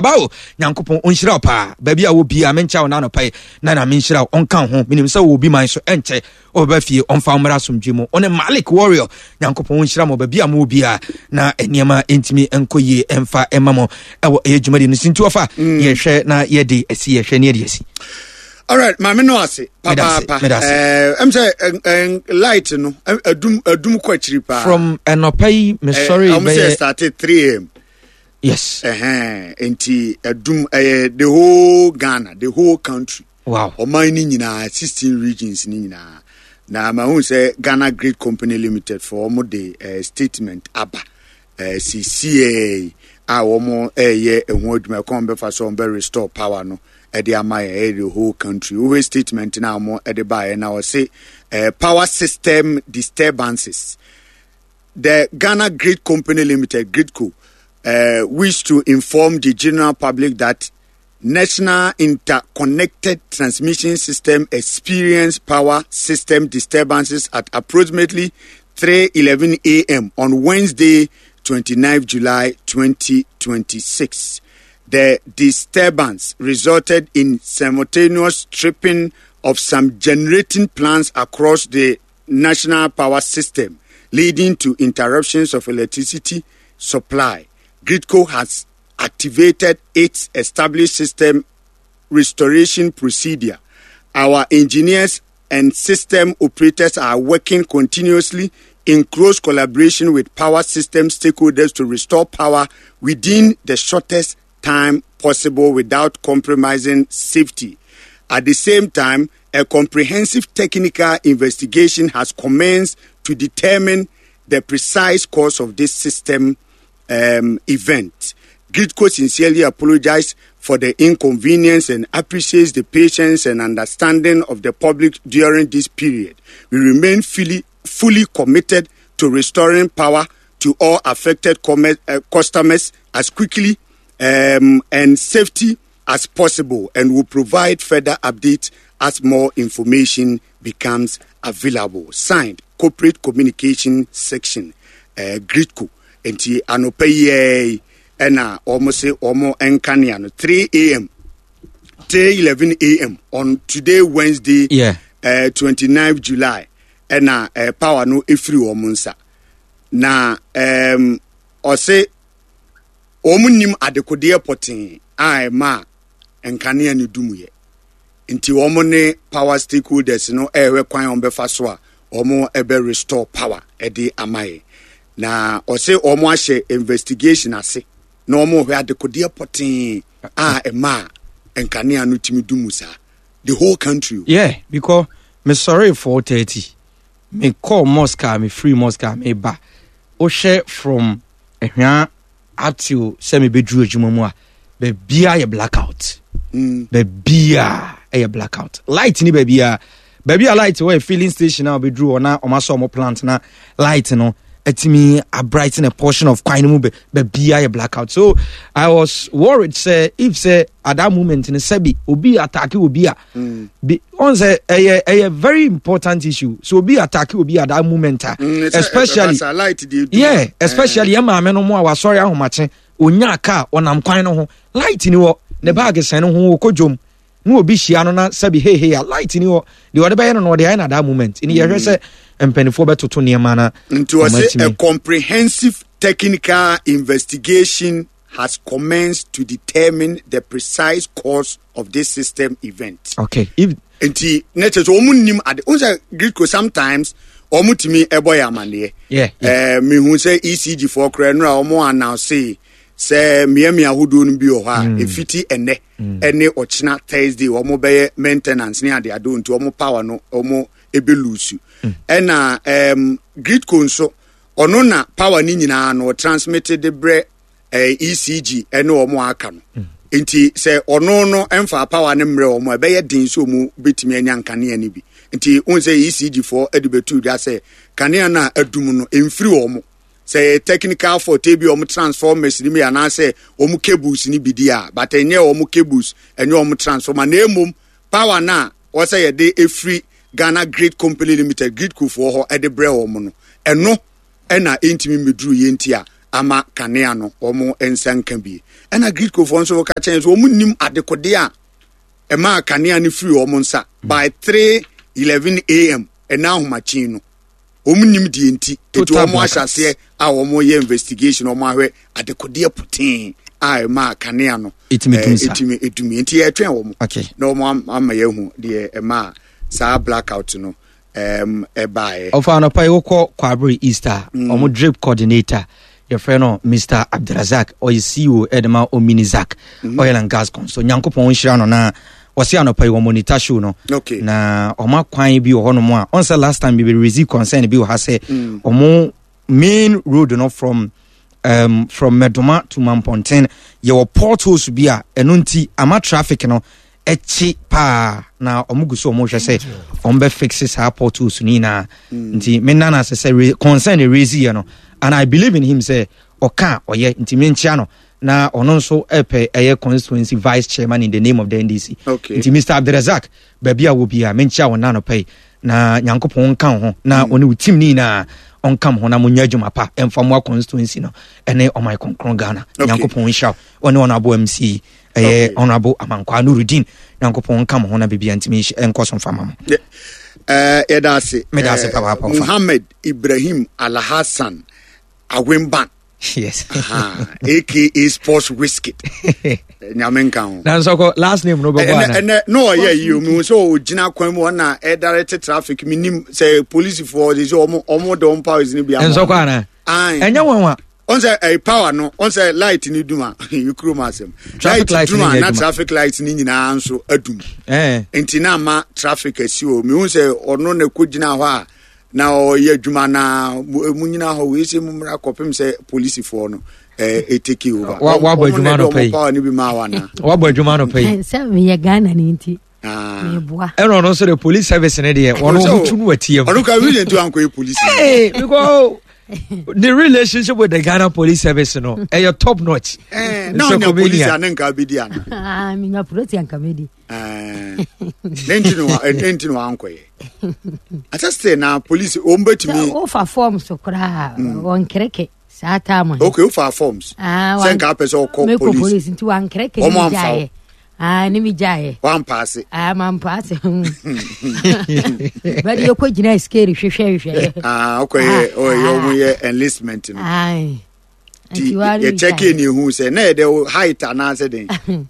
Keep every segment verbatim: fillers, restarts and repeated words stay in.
Bao, Nyankopɔn ɔnhyira wo paa. Baabi a wɔ biaa menkyɛ wo na anɔpa yi na na menhyira wo, ɔnka wo ho. Menim sɛ wɔ obi man so ɛnkyɛ ɔbɛba fie, ɔmfa wo mmra asomdwe mu. Ɔne Malik Warrior, Nyankopɔn ɔnhyira mo baabi a mowɔ biaa na nneɛma ɛntumi nkɔ yie ɛmfa ɛma mo ɛwɔ ɛyɛ dwumadi no so. Nti wɔfa mm. yɛhwɛ na yɛde asi, yɛhwɛ ne yɛde asi. Alright, maame no ase papaapa. Ɛm sɛ light no adum adum kɔ akyiri paa. From ɛnɔpa yi mesɔre bɛyɛ. Ɔmo sɛ started three a m. Yes. Ɛhɛn, nti adum ɛyɛ the whole Ghana, the whole country. Wow. Ɔman ni nyinaa, sixteen regions ni nyinaa. Na mahu sɛ Ghana Grid Company Limited for ɔmo de uh, statement aba uh, C C A a wɔn ɛyɛ ɛho adwuma ɛkɔn bɛfa so wɔn bɛ restore power no ɛde ama yɛ, ɛyɛ the whole country. Wohwɛ statement na wɔn ɛde baeɛ na wɔse uh, power system disturbances. The Ghana Grid Company Limited, GRIDCo, uh, wish to inform the general public that National Interconnected Transmission System experienced power system disturbances at approximately three eleven a m on Wednesday, twenty-ninth July twenty twenty-six. The disturbance resulted in simultaneous tripping of some generating plants across the national power system, leading to interruptions of electricity supply. GRIDCo has activated its established system restoration procedure. Our engineers and system operators are working continuously in close collaboration with power system stakeholders to restore power within the shortest time possible without compromising safety. At the same time, a comprehensive technical investigation has commenced to determine the precise cause of this system um, event. GRIDCo sincerely apologizes for the inconvenience and appreciates the patience and understanding of the public during this period. We remain fully, fully committed to restoring power to all affected com- uh, customers as quickly um, and safety as possible and will provide further updates as more information becomes available. Signed, Corporate Communication Section, uh, GRIDCo. Nti anɔpa yi ɛna wɔn se wɔn nkanea no three a m three eleven a m on today, Wednesday, yeah. uh, twenty-nine July, ɛna uh, power no efiri wɔn nsa na um, ɔse wɔn nim adekodeɛ pɔtee a ɛma nkanea no dum yɛ, nti wɔn ne power stakeholders no ɛrehwɛ kwan a wɔn bɛfa so a wɔn ɛbɛ restore power ɛde ama yɛ. Na ɔse wɔn ahyɛ investigation ase na wɔn rehwɛ adekodeɛ pɔtee a ɛma nkanea no tumi dum saa the whole country. Yeah, because me sorry, four thirty me call mosque a me free mosque a me ba, wohwɛ from Ɛhwea up till sɛ me bɛduru adwuma mu a, baabia yɛ blackout. mm. Baabia ɛyɛ blackout, light ni baabia. Baabi a light wɔ yɛ filling station a wobɛduru hɔ na ɔma sɛ ɔmo plant na light no atumi abrighten a portion of kwan no mu. Baabia yɛ blackout, so I was worried sɛ if sɛ at that moment no sɛbi obi attack obi a mm. bi ɔn sɛ ɛyɛ ɛyɛ very important issue. So obi attack obi at that moment a mm, especially, yeah, especially yɛ maame no mu a wasɔre ahomakye, onya car, ɔnam kwan no ho, light ni wɔ ne bag sɛn no ho, okɔ dwom na obi hyia no na sɛbi hey hey a, light ni hɔ deɛ ɔde bɛyɛ no na ɔde ayɛ na that moment ni yɛhwɛ sɛ mpanimfoɔ bɛtoto nneɛma na. Nti wɔsi a comprehensive technical investigation has commenced to determine the precise cause of this system event. Okay. If Nti ne kyerɛ sɛ wɔn nim ade n sɛ GRIDCo sometimes wɔn tumi ɛbɔ yɛ amaneɛ. Yeah, yeah. Ɛɛ mihu sɛ E C G foɔ koraa nura wɔn announce sɛ mmeammea ahodoɔ no bi wɔ hɔ a efiti ɛnɛ ɛne ɔkyena Thursday wɔn bɛyɛ maintenance ne ade ade, nti wɔn power no wɔn ebe lose. Ɛna ɛɛm GRIDCo nso ɔno na power ne nyinaa no transmit de brɛ ɛɛ E C G ɛne wɔn aka no, nti sɛ ɔno no ɛmfa power no mmerɛ wɔn a, ɛbɛyɛ den sɛ wɔn bɛtumi anya nkanea no bi. Nti wɔn sɛ E C G foɔ ɛde bɛtu dwa sɛ kanea no a adum no ɛmfiri wɔn, sɛ yɛ technical fault, ebi wɔn transformers ni bi anaasɛ wɔn cables ni bi di a, but ɛnyɛ wɔn cables, ɛnyɛ wɔn transformer, na emom power na wɔsɛ yɛde efiri Ghana Grid Company Limited, GRIDCo foɔ hɔ ɛde brɛ wɔn no, ɛno ɛna ɛntumi mmeduru yɛn ti a ama kanea no wɔn nsa nka bi. Ɛna GRIDCo foɔ nso ka kyɛn so wɔn nim adekode a ɛma kanea no firi wɔn nsa by three eleven a m ɛna ahomakyen no, wɔn nim deɛ nti eti Total wɔn ahyɛ blackout. aseɛ a wɔn yɛ investigation, wɔn ahwɛ adekodeɛ poteen a ɛma kanea no ɛtumi dum eh, saa. ɛtumi ɛdum, nti yɛtwɛn wɔn Okay. na wɔn am- ama yɛahu deɛ ɛma saa blackout no ɛm ɛbaeɛ. Ɔfa, anɔpa yi wokɔ Kwabere East a, ɔmo drip coordinator yɛfrɛ no Mister Abdrazak, ɔyɛ C E O ɛde ma Ominizak Oil and Gas Consol. Nyankopɔn nhyira no na wɔse anɔpa yi wɔ monitor show no. Okay. Na ɔmo akwan bi wɔ hɔnom a ɔn sɛ last time bi raise concern bi wɔ ha sɛ ɔmo main road no from um, from Medoma to Mamponten yɛwɔ potholes bi a ɛno nti ama traffic no ɛkyi paa, na ɔmo gu so ɔmo hwɛ sɛ ɔmo bɛ fix saa potholes no nyinaa. Nti me nana sɛ sɛ re- concern raise yɛ no, and I believe in him sɛ ɔka a ɔyɛ, nti menkyia no na ɔno nso ɛpɛ ɛyɛ constituency vice chairman in the name of the N D C. Okay. Nti Mister Abdulrazak, baabi a wɔ bia, menkyia wo nanɔpɛ yi na Nyankopɔn nka wo ho na ɔne wo team ne nyinaa ɔnka mo ho na monyɛ adwuma pa ɛmfa mmoa constituency no ɛne ɔman kronkron Ghana. Okay. Nyankopɔn nhyira wo, ɔne Honorable M C ɛyɛ Okay. Honorable Amankwaa Nurudin. Nyankopɔn nka mo ho na biribia ntumi nhyɛ- ɛnkɔ so mfa ma mo. Yɛ- ɛɛ yɛda ase. Meda ase Ɛɛ, papaapa, ɔfa. Muhammad Ibrahim Alhassan Awemban, yes aha, A K A Sports Wizkid, Nyame nka ho. Na nsɔkɔ last name no bɛbɔ ɛnɛ ana? Ɛnɛ na ɔyɛ yi o, mihu sɛ ɔgyina kwan mu ɔna ɛdirect traffic. Mi nim sɛ polisifoɔ de sɛ ɔmo ɔmo de ɔmo powers ni bi ama. Nsɔkɔ ana? Ayi. Ɛnyɛ wɔn a ɔn sɛ ɛyɛ power no, ɔn sɛ light ni dum a, kurom asɛm. Traffic light dum ni a nyɛ na adwuma. Traffic light ni nyinaa nso adum. Ɛɛ nti na ama traffic asi o. Mihu sɛ ɔno na ɛkɔ gyina hɔ a na ɔyɛ adwuma na mu mu nyina hɔ wei sɛ mu mmra kɔpem sɛ polisifoɔ no ɛɛ ɛtake over. Wa- wabɔ Ɔmo adwuma na ɛde no pɛ ɔmo yi. power ni bi ma wa na. Wabɔ adwuma no pɛ yi. Sɛ meyɛ Ghana ne nti Ah. meboa. Ɛna ɔno nso de police service ne deɛ ɔno Sɛ ɔmo tu no watie mu. Ɔno ka reason to ankɔ yɛ polisi. Hey, because the relationship with the Ghana Police Service no ɛyɛ top notch. Eh, na ɔnya polisi a ne nka bɛdi ana? Ah, menya polisi anka mɛdi. Eh, ne nti no wa- ne nti no wankɔyɛ asɛ sɛ na polisi wɔn Sɛ bɛtumi. wofa form so koraa wɔnkereke saa time no. Okay, wofa forms Ah, sɛ wan- nka apɛ sɛ ɔkɔ mekɔ polisi. Polisi nti wankereke Wɔn ne amfa wo. megyaeɛ. Ah, ne megyaeɛ. Wampaase. Ah, mampaase, bɛde yɛkɔ gyina scale hwehwɛ hwehwɛ. Ah, ɔkɔyɛ Ah, ɔyɛ ah. ɔmo yɛ enlistment no. Ai. Nti Nti ware yɛkyɛkee ne ehu sɛ na yɛde wo height anaasɛ den?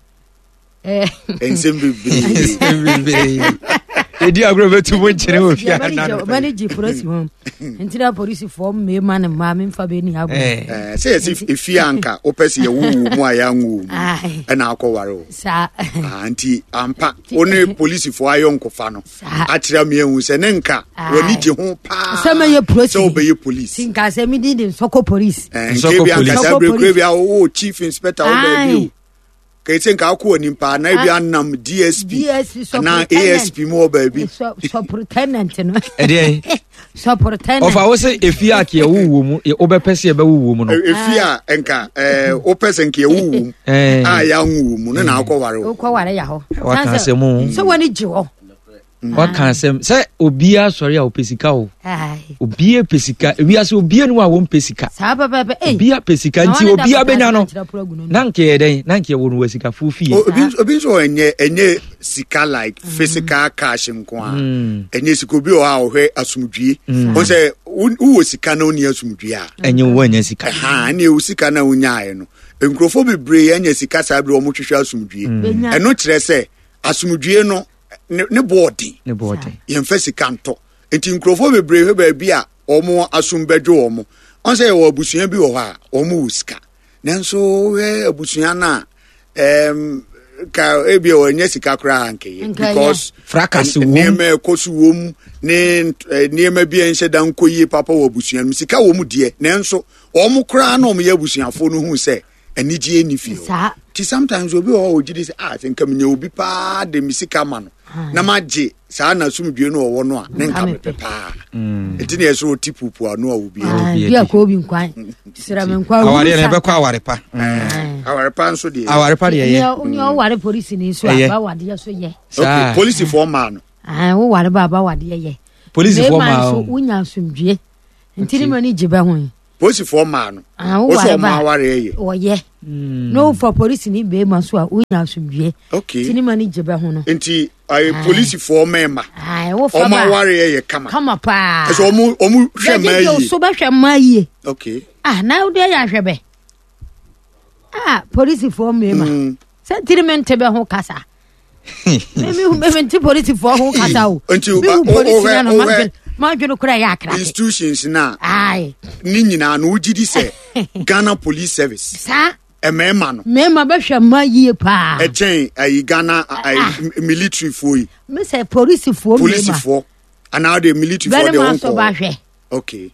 Eh, nsɛm bebree. Ɛdi agorɔ bɛtu mu nkyene wɔ fie ana no. Ɔmane gye polisi ho nti na polisifoɔ mmarima ne mmaa memfa bɛni agorɔ. Eh, Eh, sɛ yɛsi efie anka wopɛ sɛ yɛwo wo mu a yɛanwo wo mu Ai. ɛna akɔware wo. Saa. Ah, nti ampa wo ne polisifoɔ ayɛ nkɔfa no Saa. akyerɛ me ahu sɛ ne nka Aye. w'ani gye ho paa sɛ mɛyɛ polisi. Sɛ wobɛyɛ polisi. Nti nka sɛ medi de nsɔkɔ polisi. Eh, Nsɔkɔ nke bi anka police. saa Nsɔkɔ berɛ kura police. bi a wowɔ chief inspector wo baabi o Aye. kɛsɛ nka akɔ w'anim paa na ebi anam D S P D S P, anaa superintendent. A S P mu wɔ baabi. Superintendent no. Ɛdeɛn? Superintendent. Ɔfa wo sɛ efie a ka yɛwo wɔ mu yɛ- wobɛpɛ sɛ yɛbɛwo wɔ mu no. E- efie a nka eh, wopɛ sɛ nka yɛwo wo mu Eh. a yɛanwo wo mu no na akɔware wo. Wokɔware yɛ hɔ. Waka asɛm o. Sɛ w'ani gye hɔ. Waka asɛm sɛ obiara sɔre a ɔpɛ sika o. Ai. Obiara pɛ sika, ewiase obiara ni hɔ a wɔmpɛ sika. Saa pɛpɛpɛ. Ei. Obiara pɛ sika Na nti wɔne da obiara papa bɛnya no. kyerɛ poro agu no. Na nka yɛ dɛn na nka yɛwɔ no wɔ sikafoɔ fie. O- obi nso- obi nso wɔ ɛnyɛ ɛnyɛ sika like physical cash nko a, ɛnyɛ sika. Obi wɔ hɔ a ɔhwɛ asomdwie wɔn sɛ wo- wowɔ sika na wonni asomdwie a ɛnyɛ wo anya sika. Ɛha ɛne ewu sika na wonyaeɛ no, nkurɔfoɔ bebree anya sika saa bere wɔn hwehwɛ asomdwie. Bɛnya. Ɛno kyerɛ sɛ asomdwie no ne ne boɔ den. Ne bɔɔden. Yɛmfa sika ntɔ, nti nkurɔfoɔ bebree hwɛ baabi a wɔn asom bɛdwo wɔn. Ɔn sɛ yɛwɔ abusua bi wɔ hɔ a wɔn wɔ sika, nanso wohwɛ abusua no a ɛɛm ka ebi a wɔnyɛ sika koraa nkɛyɛ Nkɛyɛ. because Fracas n- wom. nneɛma ɛkɔ so wom ne nt- eh, nneɛma bi a nhyɛ da nkɔ yie papa wɔ abusua no mu. Sika wɔ mu deɛ, nanso wɔn koraa na wɔn yɛ abusuafoɔ no hu sɛ anigye ni fie hɔ. Saa. Nti sometimes obi wɔ hɔ a ogye di sɛ, ah, sɛ nka menya obi paa de me sika ma no na magye saa n'asomdwe no ɔwɔ no a ne nka Nka mepɛ mepɛ. paa. Nti ne yɛ sɛ ɔti pupu ano a obi Ah, Obi bi a adi. kɔ obi nkwan srɛ me nkwan. Awareɛ no ɛbɛkɔ aware pa. Aware pa nso deɛ. Aware pa deɛ ɛyɛ. Nea woware polisi ni so Ɛyɛ. a bawadeɛ so yɛ. Saa. Okay, polisifoɔ maa no. Ah, woware ba a bawadeɛ yɛ. Polisifoɔ Mmarima maa nso o. wonya asomdwie nti ne ma ne gye bɛ ho yi. Polisifoɔ maa no. Ah, Wo sɛ woware ɔmo ba a, awareɛ yɛ. Wɔyɛ na wofa polisi ni bɛrima so a, wonya asomdwie. Okay. Nti ne ma no gye bɛ ho no. Nti ɛɛ polisifoɔ mmarima Ae, wofa ɔmo ba a, awareɛ yɛ kama. Kama paa. Ɛsɛ ɔmo ɔmo hwɛ mmaa Bɛgyegye wo yie. so, bɛhwɛ mmaa yie. Okay. Ah, na wode yɛ ahwɛ bɛ. Ah, polisifoɔ mmarima Mm. sɛ ntiri mente bɛ ho kasa. Mente polisifoɔ ho kasa o. Nti, mehu o- o- polisi wohwɛ- na no wohwɛ- madwene kora yɛ akrake. Institutions na Ae. ne nyinaa no, wogye di sɛ Ghana Police Service saa mmarima no mmarima bɛhwɛ mmaa yie paa. Ɛkyɛn ayi Ghana ayi military foɔ yi? Mesɛ polisifoɔ mmarima. Polisifoɔ anaa de military foɔ deɛ bɛrima nso wɔnkɔ. bahwɛ. Okay.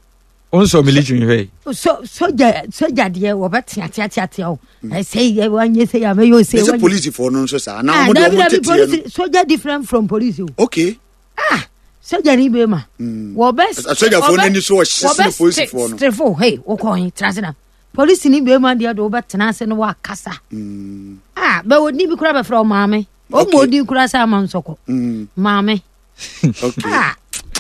Wonsɔ military hwɛ? So soja soja deɛ, wɔbɛteateateatea o, ɛsɛ yɛ wanyɛ sɛ yɛ amɛyɛ ose. Ne sɛ polisifoɔ no nso saa anaa ɔmo de Dabi ɔmo dabi. teteɛ no? Polisi soja different from police o. Okay. Ah, soja ni bɛrima wɔbɛ Asogyafoɔ no ani so ɔhye sene polisifoɔ no. Strefo hey, wokɔ he tena ase na polisi ni bɛrima deɛ de wobɛtena ase na wakasa. Ah, bɛ odi bi kora bɛfrɛ wo maame ɔma. Okay. Odi kora sɛ ama nsɔkɔ Mm, maame. Okay. Ah,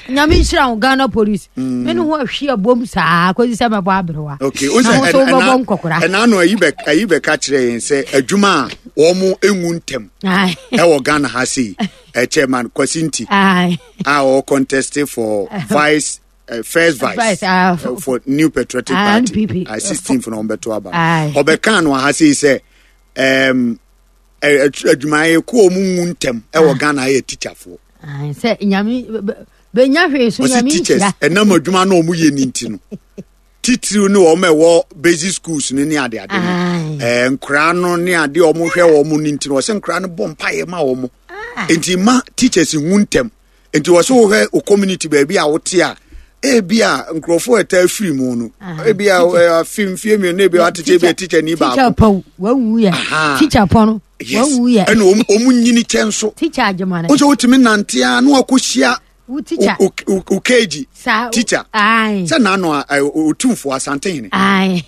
Nyame nhyira wo, Ghana Police. Mene ho ahwe abom saa kɔsi sɛ mɛbɔ aberewa. Okay. Na wo nso wobɛbɔ nkɔkora. Ɛna no ayi bɛ ayi bɛka kyerɛ yɛn sɛ adwuma a wɔn enwu ntɛm Aye. ɛwɔ Ghana ha sei, ɛ Chairman Kwasi Nti Aye. a ɔwɔ contest for vice, uh, first vice, Vice, ah, uh, for New Patriotic Ah, Party. N P P. uh, sixteen for na ɔmbɛto aba. Aye. Ɔbɛka no ha sei sɛ um, adwumayɛkuo a ɔmo nwu ntɛm ɛwɔ Ghana yɛ teacherfoɔ. Aye, sɛ Nyame bɛ- bɛ- bɛnya hwee so. Ɔsi Nyame teachers nhyira. Ɛnam adwuma na ɔmo yɛ ne nti no, titiriw ne wɔn a ɛwɔ basic schools no ne ade ade no, Aye. ɛɛ nkoraa no ne ade a ɔmo hwɛ wɔn no nti no, ɔsɛ nkoraa no bɔ mpaeɛ ma wɔn, nti ma teachers hu ntɛm. Nti wɔsɛ wohwɛ o community baabi a wote a, ebi a nkurɔfoɔ ɛta afiri mu no, Ah, ebi a ɛ, afi mfie mmienu, ebi a watekyɛ, ebi a teacher ni teacher baako paw wawu yɛ. Aha. Teacher pɔ no Yes. wawu yɛ. Ɛna ɔmo ɔmo nyini kyɛ nso. Teacher agyemane. Wosɛ wotumi nante a na wakɔhyia wo teacher. o- o o K G saa teacher. Aye. Sɛ n'ano a ɛ, Otumfoɔ Asantehene Aye.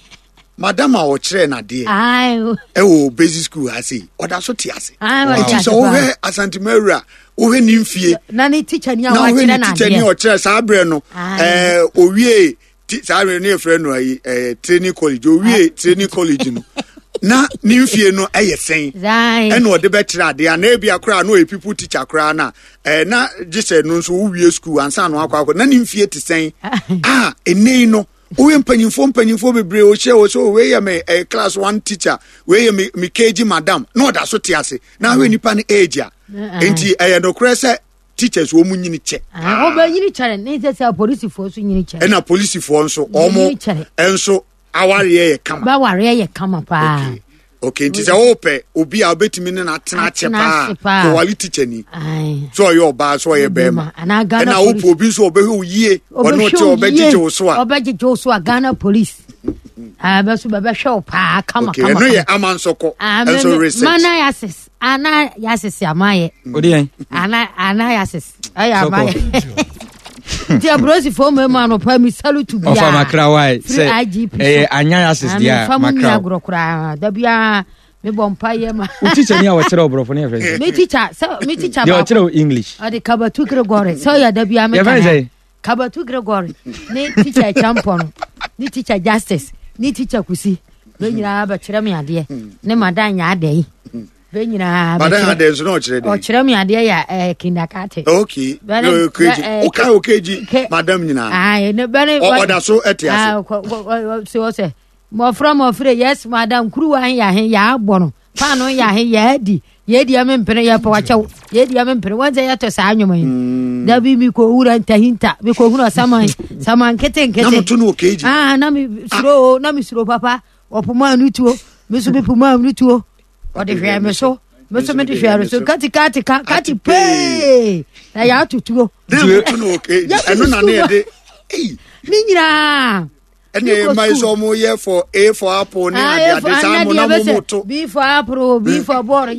madam a ɔkyerɛ n'adeɛ Aye. ɛwɔ basic school ha sei, ɔda so te ase. Aye, ɔte Nti ase sɛ paa. wohwɛ Asantemawura, wohwɛ ne mfie na ne teacher ni a na wohwɛ wakyerɛ ne teacher ni a n'adeɛ. ɔkyerɛ saa berɛ no, Aye. ɛɛ owie ti- saa berɛ no yɛfrɛ no ayi ɛɛ training college, owie training college no na ne mfie no ɛyɛ sɛn? Aye. Ɛna ɔde bɛkyerɛ adeɛ a na ebi akora na ɔyɛ pupil teacher koraa na ɛɛ na gye sɛ no nso wowie school ansa na wakɔ akɔ na ne mfie te sɛn a ɛnɛ yi no, woyɛ mpanyinfoɔ mpanyinfoɔ bebree ohyɛ wɔ so, wei yɛ me ɛɛ class one teacher, wei yɛ me me K G madam, na ɔda so te ase na ahwɛ nipa no age a, nti ɛyɛ nokorɛ sɛ teachers wɔn mu nyini kyɛ. Ah, ɔbɛnyini kyɛrɛ ne sɛ sɛ apolisifoɔ so nyini kyɛrɛ. Ɛna polisifoɔ nso ɔmo Nyini kyɛrɛ. ɛnso awareɛ yɛ kama. Bɛwareɛ yɛ kama paa. okay okay nti sɛ wopɛ obi a wobɛtumi ne no atena akyɛ Atena paa, ase paa. kɔwale teacher ni. Aye. Sɛ ɔyɛ ɔbaa, sɛ ɔyɛ bɛrima, anaa Ghana ɛna wopɛ Police. obi nso ɔbɛhwɛ wo yie, ɔne wote Ɔbɛhwɛ wo ɔbɛgyegye yie. wo so a, Ɔbɛgyegye wo so a, Ghana Police. Ah, bɛ so bɛbɛhwɛ wo paa kama. Okay. Kama. Ɛno yɛ Kama. Ama Nsɔkɔ Ah, me- ɛnso me- research. Mana yasis ana yasis amayɛ. Wode yɛn ana ana yasis ɛyɛ Sɔkɔ. amayɛ nti apolisifoɔ mmarima no pa mi salute bia. Ɔfa makra wae Firi sɛ I G P so. ɛyɛ anya yasis deɛ a Mefa mu nni makra. agorɔ koraa, da biara mebɔ mpa yɛ ma. Wo teacher ni a wɔkyerɛ wo borɔfo no yɛfrɛ sɛ? Me teacher sɛ me teacher Deɛ baako ɔkyerɛ wo English. Ɔde Kabatu Gregory sɛ ɔyɛ da biara Yɛfrɛ meka sɛ? Kabatu Gregory ne teacher Champɔ no ne teacher Justice ne teacher Kusi bɛ nyinaa bɛkyerɛ me adeɛ ne madan nyɛ adɛ yi bɛ nyinaa madan bɛkyerɛ- adɛ nso na ɔkyerɛ dɛn? Ɔkyerɛ me adeɛ yɛ ɛɛ kindergarten. Okay. Bɛne- No, O K G. bɛ- eh, Wokae O K G K- madam nyinaa? Aye, ne bɛne Ɔ- ɔda so ɛte ase? Ah, kɔ- kɔ- kɔ- sɛ ɔsɛ mmɔfra mmɔfra, yes madam, kuruwa he yɛ ahe yɛabɔ no paano yɛ ahe yɛadi yɛdi ɛme mpene yɛpɛ wakyɛw yɛdi ɛme mpene wɔn sɛ yɛtɔ saa nnwoma yi dabi mi kɔ wura ntahinta mi kɔ hunu saman saman nkete Na nkete. moto no O K G? Ah, na mi suro o, na mi suro papa. Ɔpoma anu tuo, mi nso mi poma anu tuo, ɔde hwɛ mi so, mi nso mi de hwɛ mi so, kati kati ka kati pee na yɛato tuo. Na moto no O K G? Yɛ- Ɛno na ne yɛde ei. Ne nyinaa. Ɛne ɛma yi sɛ ɔmo yɛ for A for apple ne ade ade saa mo na mo mo to. B for apple, B for ball. B-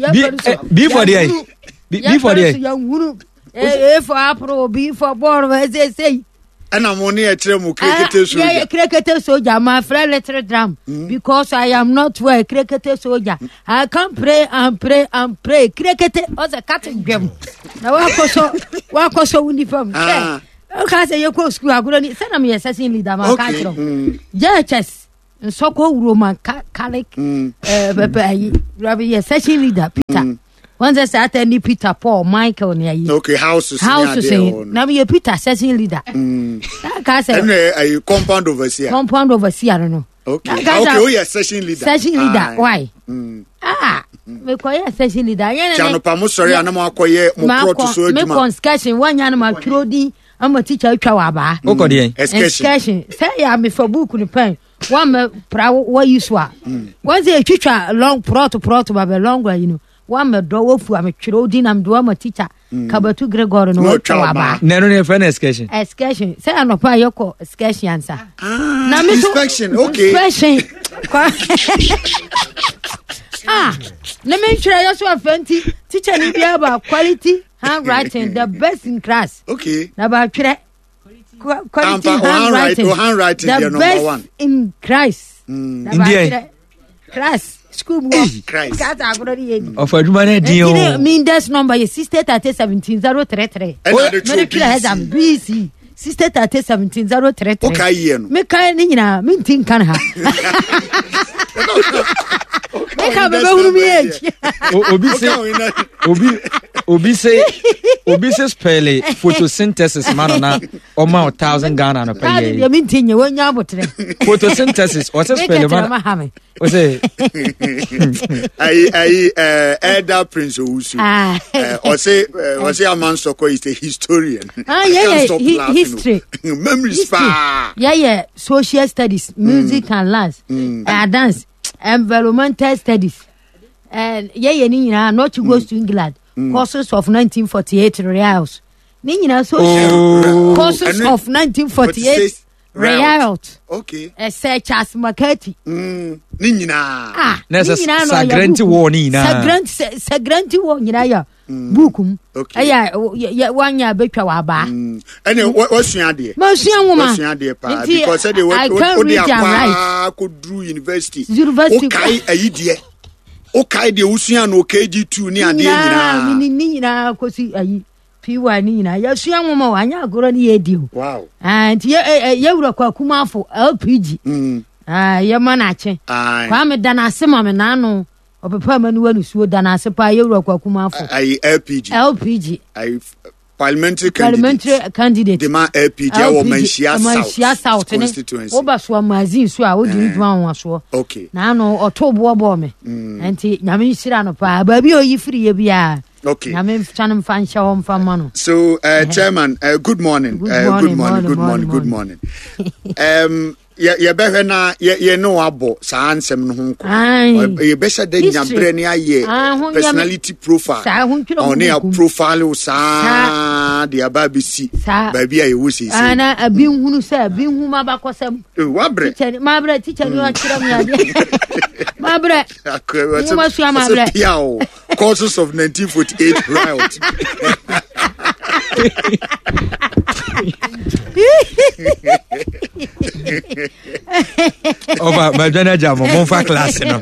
eh, B for deɛ? B B for deɛ? Yɛnhunu A for apple, B for ball, ɛsɛ sɛ Ɛna mo ne yɛkyerɛ mo krekete soja. Krekete soldier, my friend, little drum, because I am not well. Krekete soldier, I can pray and pray and pray. Krekete ɔsɛ kate dwam na wakɔ so wakɔ so wo nipa mu Ah. hwɛ. Woka sɛ yɛkɔ sukuu agorɔ ni sɛ na meyɛ session leader ma ka kyerɛ wo. J H S Nsɔkɔ Roman Catholic bɛbɛ ayi rabi yɛ session leader Peter. Wɔn sɛ saa ta ni Peter, Paul, Michael ni ayi. Okay, houses. Houses na meyɛ Peter session leader. Na ka sɛ ɛnna ayi compound overseer. Compound overseer no no. Okay, okay, o yɛ session leader. Session leader, why? Mm. Ah, mekɔyɛ session leader. Yɛn ne anɔpa mo sɔre a na mo akɔyɛ mo plot so adwuma. Mekɔ excursion wɔnya no ma twerɛ din ama teacher atwa wɔ abaa. Wokɔ deɛn? Excursion sɛ yɛ amefa book no pɛn wɔn mɛ pra wɔyi so a wɔn sɛ etwitwa long plot plot ba bɛ long ayi no wɔn mɛ dɔ wɔfu a metwerɛ din na mede wɔn ma teacher Kabatu Gregory no wɔtwa wɔ abaa. Na ɛno ne yɛfrɛ no excursion? Excursion sɛ anɔpa a yɛkɔ excursion ansa. Na me so inspection, okay. Inspection ah, ne me ntwerɛ yɛ so afɛ nti teacher ni bi aba quality handwriting, the best in class. Okay. Na ba twerɛ quality handwriting, handwriting, the best one in Christ. Mm. Na ba twerɛ class school mu hɔ kasa agorɔ ni yɛ ni. Ɔfɔ adwuma náà dín o. Mi index number yɛ sixty thirty seventeen zero three three. Ɛna de twerɛ B C. Exam B C sixty thirty seventeen zero three three. O ka yie no. Mi ka ne nyinaa, mi nti nka ha. Mi ka bɛ bɛ hunu mi age. Obi se obi obi se obi se spell photosynthesis ma no na ɔma o thousand Ghana no pɛ yɛ. Deɛ mi nti nyɛ wɔn nya abotire. Photosynthesis ɔsɛ spell ma no ɔsɛ. Ayi ayi ɛɛ Elder Prince Owusu ɔsɛ ɔsɛ Amansoko is a historian. Ah, yeah, yeah, history. Memories paa. Yeah, yeah, social studies, music mm. and dance, mm. uh, dance, environmental studies. And yeah, yeah, nyinaa not to go mm. to England. Mm. Courses of nineteen forty-eight riots. Ne nyinaa social oh. Courses of nineteen forty-eight riot. Okay. Ɛsɛ Charles McCarthy. Mm. Ne nyinaa. Ah, ne nyinaa na Sagrenti War ne nyinaa. Sagrenti Sagrenti War nyinaa yɛ book mu. Ɛyɛ yɛ wanya abɛtwa wɔ abaa. Ɛnna wasua adeɛ. Masua nwoma. Wasua adeɛ paa because ɛde o de akɔ akɔduru university. University. O kae ayi deɛ, o kae deɛ wosua no K G two ne adeɛ nyinaa. Ne nyinaa kɔsi ayi py ne nyinaa yɛsua nwoma o, anyɛ agorɔ ne yɛdi o. Wow. Nti yɛwura kɔ akumafo L P G. Yɛma no akye Kwame da no ase ma me naano ɔpepa ma niwa nusuo da no ase paa, yɛwura kɔ akumafo. Ayi L P G. L P G. Ayi parliamentary candidate. Parliamentary candidate. De ma L P G ɛwɔ Manhyia Manhyia South constituency. Woba so magazine so a wodi ne dwuma ahoasoɔ. Okay. Naano ɔto boɔ bɔɔ me nti Nyame nhyira no paa baabi a ɔyi firi yɛ biara. Okay. Nyame sane mfa nhyɛ hɔ mfa ma no. So, uh, Chairman, uh, good morning. Good uh, morning, good morning, good morning, good morning. um, yɛbɛhwɛ na yɛ ne wabɔ saa nsɛm no ho nkɔ, yɛbɛhyɛ da nyaberɛ ne ayɛ personality profile ɔne a profile wo saa de aba abɛsi baabi a yɛwɔ seesei. Na abi nhunu sɛ abi nhu mabakɔsɛm. Wabrɛ. Mabrɛ, teacher ni wakyerɛ me adeɛ, mabrɛ nwoma sua, mabrɛ. Pia o, causes of nineteen forty-eight riot. Ɔba madwane agya mo, momfa class no,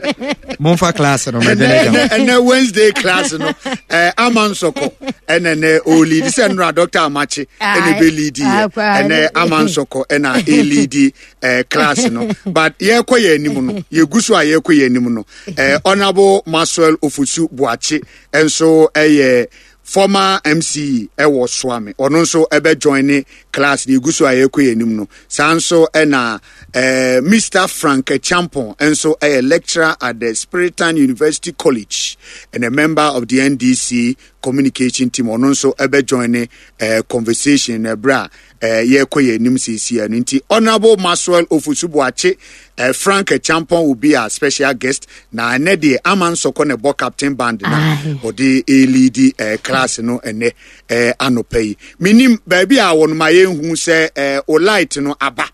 momfa class no, madwane agya mo. Ɛnɛ Wednesday class no, eh, Ama Nsɔkɔ ɛnɛ nɛ ɔlead sɛ nnora Doctor Amakye ɛna ɛbɛlead yɛ, ɛnɛ Ama Nsɔkɔ ɛna ɛlead eh, class no. But yɛkɔ yɛ anim no, yɛgu so a yɛkɔ yɛ anim no, eh, Honorable Maxwell Ofosu Boakye nso ɛyɛ former M C E ɛwɔ Suame, ɔno nso ɛbɛ join ne class ne egu so a yɛkɔ yɛn anim no. Saa nso ɛna ɛɛ Mister Frank Champon nso ɛyɛ lecturer at the Spiritan University College and a member of the N D C communication team. Ɔno nso ɛbɛ join ne ɛɛ conversation na ɛbrɛ a ɛɛ yɛkɔ yɛn anim siesie no. Nti Honourable Maxwell Ofosu Boakye, ɛɛ Frank Champon will be our special guest. Na ɛnɛ deɛ Ama Nsɔkɔ na ɛbɔ captain band na ɔde ɛlead ɛɛ class no ɛnɛ ɛɛ anɔpa yi. Minim baabi a wɔn ma yɛn hu sɛ ɛɛ o light no aba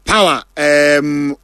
power ɛɛm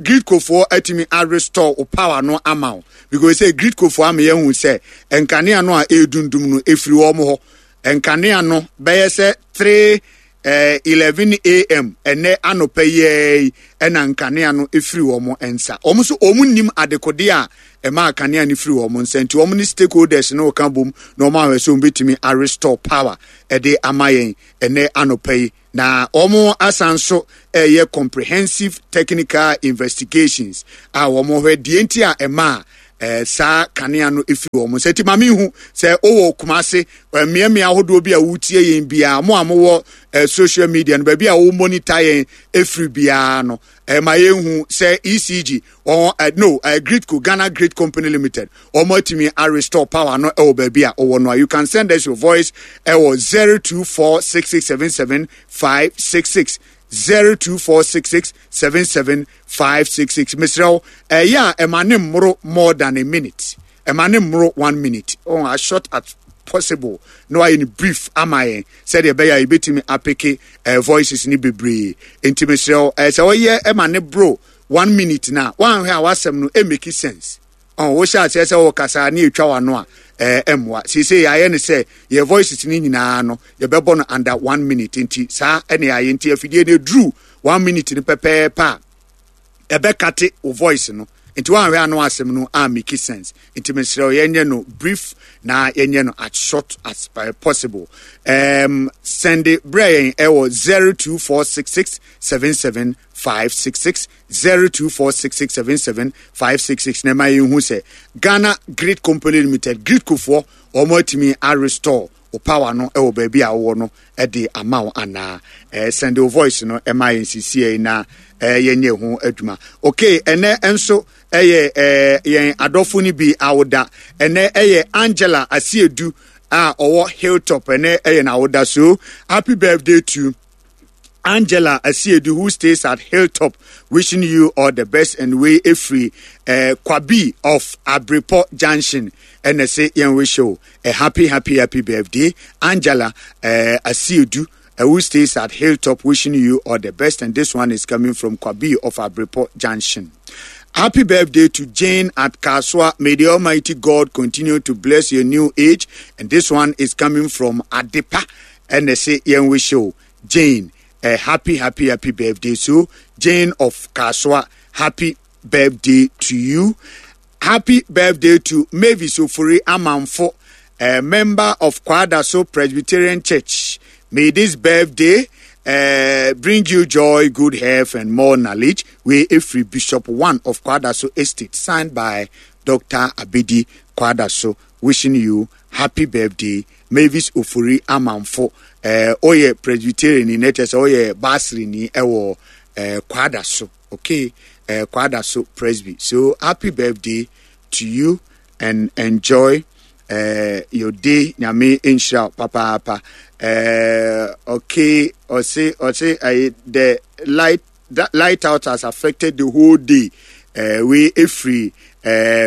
Gridcofoɔ atumi arestore o power no ama wo, because sɛ Gridcofoɔ ama yɛn hu sɛ nkanea no a ɛredundum no efiri wɔn hɔ. Nkanea no bɛyɛ sɛ three eh, eleven a m ɛnɛ anɔpa yi ɛna nkanea no efiri wɔn nsa. Wɔn nso wɔn nim adekode a ɛma kanea no firi wɔn nsa, nti wɔn ne stakeholders no ka bom na wɔn ahwɛ sɛ wɔn bɛtumi arestore power ɛde ama yɛn ɛnɛ anɔpa yi. Na wɔn asan so ɛyɛ comprehensive technical investigations a wɔn hwɛ deɛ nti a ɛma ɛɛ saa kanea no efiri wɔn nsa. Nti maame ihu sɛ ɔwɔ Kumase, mmeammea ahodoɔ bi a wotie yɛn biara, mo a mowɔ ɛɛ social media no, baabi a wɔn monitor yɛn efiri biara no, ɛma yɛn hu sɛ E C G wɔn ɛ no ɛ Gridco, Ghana Grid Company Limited, wɔn atumi arestore power no ɛwɔ baabi a ɔwɔ no a, you can send us your voice ɛwɔ zero two four six six seven seven five six six, zero two four six six seven seven five six six. Mesrɛ wo, ɛyɛ a ɛma ne mmoro more than a minute, ɛma ne mmoro one minute, oh, as short as possible na wayɛ no brief ama yɛn sɛdeɛ ɛbɛyɛ a yɛbɛtumi apick uh, voices ne bebree. Nti mesrɛ wo, ɛɛ sɛ wɔyɛ ɛma ne boro one minute na wanhwɛ a, wasɛm no ɛmake sense. Ɔn wohyɛ aseɛ sɛ wɔkasa ne etwa w'ano a, ɛɛ ɛmmoa. Seesei yɛayɛ no sɛ yɛ voices ne nyinaa no, yɛbɛbɔ no under one minute. Nti saa ɛna yɛayɛ. Nti afidie no eduru one minute no pɛpɛɛpɛ a, ɛbɛcut wo voice no. Nti woanhwɛ ano asɛm no a make sense. Nti mesrɛ wo, yɛnyɛ no brief na yɛnyɛ no as short as possible. um, send brɛ yɛn ɛwɔ zero two four six six seven seven five six six, zero two four six six seven seven five six six, na ɛma yɛnhu sɛ Ghana Grid Company Limited, Gridcofoɔ, wɔn atumi arestore o power no ɛwɔ baabi a wɔwɔ no ɛde ama wo anaa. ɛɛ send wo voice no ɛma yɛn sisi na ɛɛ yɛnyɛ ho adwuma. Okay, ɛnɛ nso ɛyɛ ɛɛ yɛn adɔfo no bi awoda. Ɛnɛ ɛyɛ Angela Asiedu a ɔwɔ Hilltop. Ɛnɛ ɛyɛ n'awoda, so happy birthday to Angela Asiedu, who stays at Hilltop, wishing you all the best. And we efiri uh, Kwabi of Abripo Junction ɛna sɛ yɛn wish you a happy, happy, happy birthday, Angela uh, Asiedu, uh, who stays at Hilltop, wishing you all the best. And this one is coming from Kwabi of Abripo Junction. Happy birthday to Jane at Kaswa. May the Almighty God continue to bless your new age. And this one is coming from Adepa. And they say, yɛn wish you, Jane, a happy, happy, happy birthday. So, Jane of Kaswa, happy birthday to you. Happy birthday to Mavis Ofuri Amanfo, a member of Kwadaso Presbyterian Church. May this birthday uh, bring you joy, good health, and more knowledge. Wei efiri Bishop One of Kwadaso Estate, signed by Doctor Abedi Kwadaso, wishing you happy birthday, Mavis Ofuri Amanfo. Uh, ɔyɛ Presbyterian ni, na kyerɛ sɛ ɔyɛ basiri ni ɛwɔ uh, Kwadaso. Okay, uh, Kwadaso Presby. So happy birthday to you and enjoy uh, your day. Nyame nhyira wo papaapa. Uh, okay, ɔse ɔse uh, the light that light out has affected the whole day. Uh, wei efiri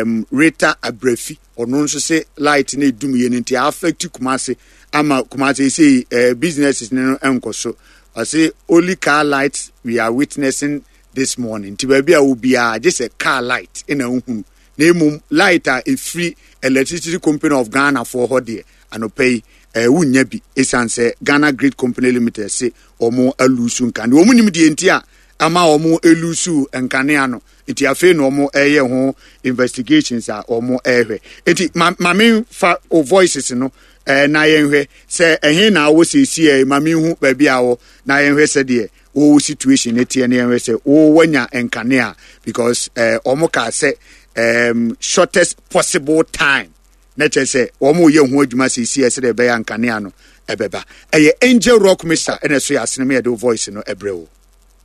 um, Rita Abrefi. Ɔno nso sɛ light na edum yɛ no nti affect Kumase ama Kumase sɛ uh, businesses no nkɔ so. Ɔse only car lights we are witnessing this morning. Nti baabi a obiara gye sɛ car light ɛna ohunu, na emom light a efiri Electricity Company of Ghana foɔ hɔ deɛ, anɔpa yi ɛɛ wunya bi, esan sɛ Ghana Grid Company Limited se wɔn alose nkanea. Wɔn nim deɛ nti a ama wɔn elose nkanea no, nti afei na wɔn ɛyɛ ho investigations a wɔn ɛrehwɛ. Nti ma maame fa o voices no ɛɛ na yɛnhwɛ sɛ ɛhe na awɔ siesie ɛ. Maame hu baabi a awɔ na yɛnhwɛ sɛdeɛ wɔwɔ situation ne teɛ, na yɛnhwɛ sɛ wɔwɔ nkanea, because ɛɛ wɔn kaa sɛ um, shortest possible time, na kyerɛ sɛ wɔn yɛ ho adwuma siesie sɛdeɛ ɛbɛyɛ nkanea no ɛbɛba. Ɛyɛ Angel Rock Mixer ɛna ɛso yɛ asene mu yɛde wo voice no ɛbrɛ wo.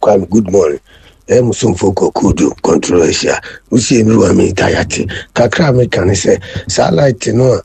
Kwame, good morning. Ɛyɛ musomfo kɔkudu controversial wosie mi wa mi tayate kakra a meka ne sɛ saa light no a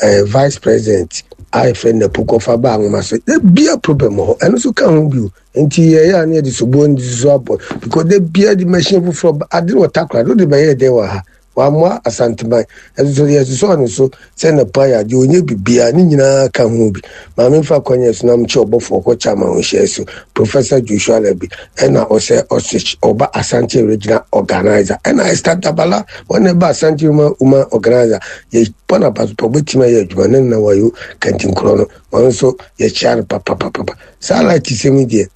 eh, vice president a yɛfrɛ no Napo kɔfa ba anwoma so da bia problem wɔ hɔ. Ɛno nso ka ho bio, nti yɛyɛ a ne yɛde soboɔ no so abɔ because da bia de machine foforɔ ba ade no wɔ Takora de wode bɛyɛ dɛn wɔ ha. Wammoa Asanteman. Ɛso so yɛsosɔɔ ne so sɛ Napo ayɛ adeɛ, ɔnyɛ biribiara, ne nyinaa ka ho bi. Maame mfa kwan so na mekyɛ ɔbɔfoɔ kɔkyɛ ama ɔnhyɛ so. Professor Joshua Labi, ɛna ɔsɛ ɔsɛ ɔba Asante Regional Organizer. Ɛna Esther Dabala, wɔn ɛba Asante Woman Woman Organizer. Yɛbɔ n'aba so pa, ɔbɛtumi ayɛ adwuma ne nna wɔyɛ kantinkorɔ no. Ɔno nso yɛkyia no papapapa. Saa light sɛm yi deɛ.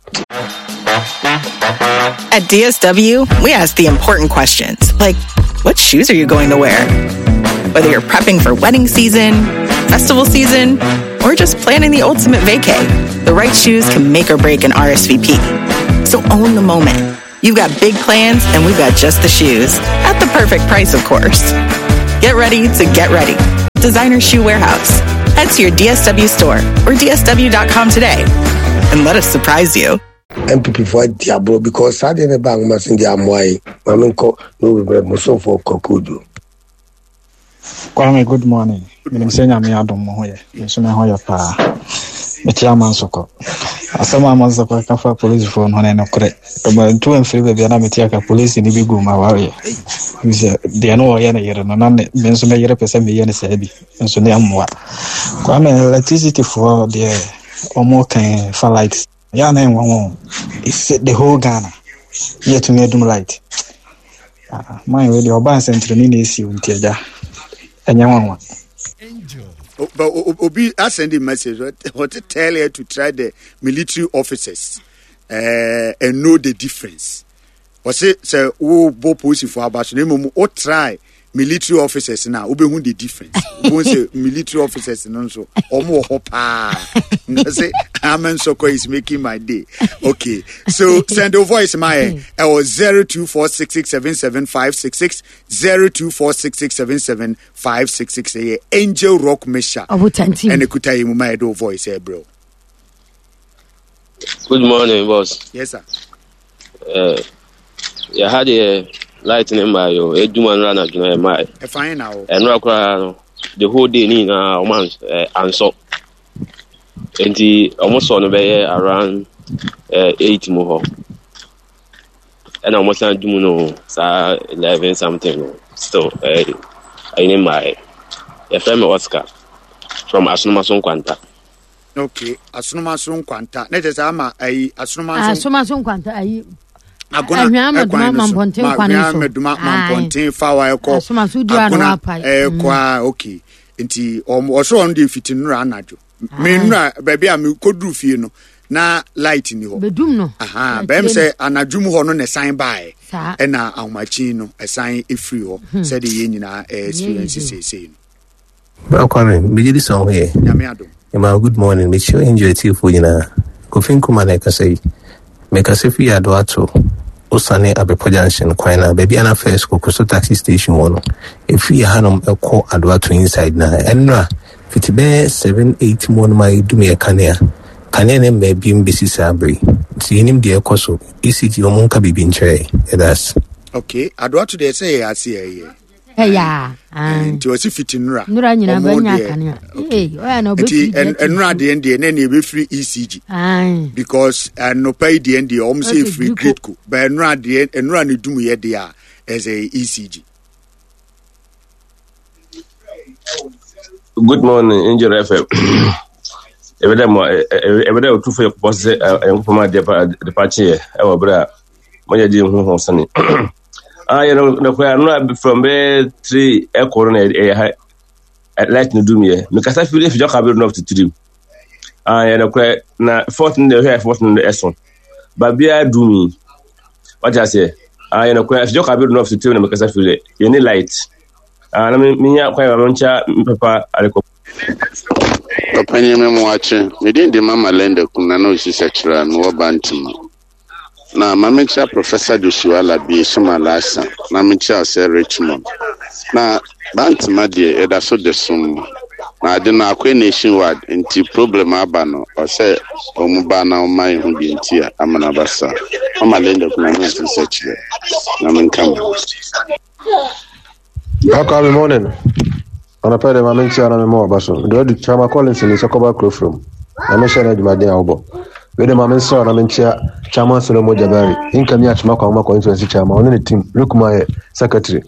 At D S W, we ask the important questions, like, what shoes are you going to wear? Whether you're prepping for wedding season, festival season, or just planning the ultimate vacay, the right shoes can make or break an R S V P. So own the moment. You've got big plans, and we've got just the shoes. At the perfect price, of course. Get ready to get ready. Designer Shoe Warehouse. Head to your D S W store or D S W dot com today and let us surprise you. M P P for Diablo, because I didn't bang my in the Amway. Maminko, no regret, so for Kokudu. Kwame, good morning. I'm saying I'm here, don't know here. You see me how you pa. Me tia man soko. Asama man soko ka fa police phone ho na no kore. But two and three baby na me tia ka police ni bi go ma ware. You say de no ye na yere no na me nso me yere pese me ye ne se bi. Nso ne amwa. Kwame, electricity for the omo kan fa light. Ya na enwo. It's the whole Ghana. Yet to me dum light. Ah, my way the urban center ni na esi ntia ja. But Obi, I send a message. What to tell her to try the military officers uh, and know the difference. Or say, say, oh, bo police for abaso. O try military officers now. Obi who the difference. Obi say military officers no so. Omo hopa. Say, Amen Soko is making my day. Okay, so send your voice my uh, zero two four six six seven seven five six six zero two four six six seven seven five six six. Angel Rock Mesha. And ekuta yimu my do voice, eh, bro. Good morning, boss. Yes, sir. Uh, you had a lightning by you. A human run at my. Fine now. And the whole day in a month and so. And the almost on the around uh, eight more. And almost on Jumuno, sir, eleven something. Still, uh, I name my F M Oscar from Asunomason Kwanta. Okay, Asunomason Kwanta. Let us ama a Asunomason Kwanta. I Agona Mampontin Fawa Eko Agona Ekwa. Okay, nti also on the fitin ranajo. Me nra baby a me kodru fie no na light ni ho. Bedum no. Aha, be me say anadwum ho no ne sign by. E na ahomachi no e sign efiri ho. Say de ye nyina experience say say no. Bro Kwame, me gidi so here. Nyame adom. Ma good morning. Me sure enjoy tea for nyina. Kofi Nkuma na ka say. Me ka say fi ado ato. Osane Abepo Junction kwan na baby ana first Kokoso taxi station wo no. Efi hanom ekɔ ado ato inside na enra fiti be seven eight mo no my dum ye kanea. Kanea ne ma bi mbesi sabre. Ti enim de ekɔ so E C G o mo nka bibi nkyere. That's okay. Ado ato de say ya see ye. Yeah. Nti o si fiti nura. Nura nyina ba nya kanea. Eh, oya na obi. Nti enura de de na na e free E C G. Aye. Because no pay de de o say free gridco. But enura de enura ne dum ye de a as a E C G. Good morning, Angel F M. Every day, every day, two for your boss. I'm from my departure. I will bra. My dear, who has Ah, you know, no, I'm from bed three. Echo a light no do me. Because I feel if you have enough to do. Ah, you know, now fourteen the hair, fourteen the S one. But be I do me. What I say? Ah, you know, if you have enough to do because I feel it. You need light. Ah, me me ya kwa mancha papa aliko. Papa me mo ache. Me din de mama lende kuna na osisa kira no obantima. Na mama cha Professor Joshua Labi soma lasa. Na me cha se Richmond. Na bantima de eda so de som. Na ade na akwa nationwide nti problem aba no o se omuba na o man hu bi nti a amana basa. Mama lende kuna na osisa kira. Na me nkam. Good morning. On a pere ma mentia na me mo baso. Do do Chama Collins ni sokoba from. Na me share na dwumaden a wo. Wei de ma mensrɛ wo na menkyea Chairman Solomon Jabari, Nkami Akyema Kwamma Constituency Chairman, ɔne ne team, Rukuma yɛ Secretary.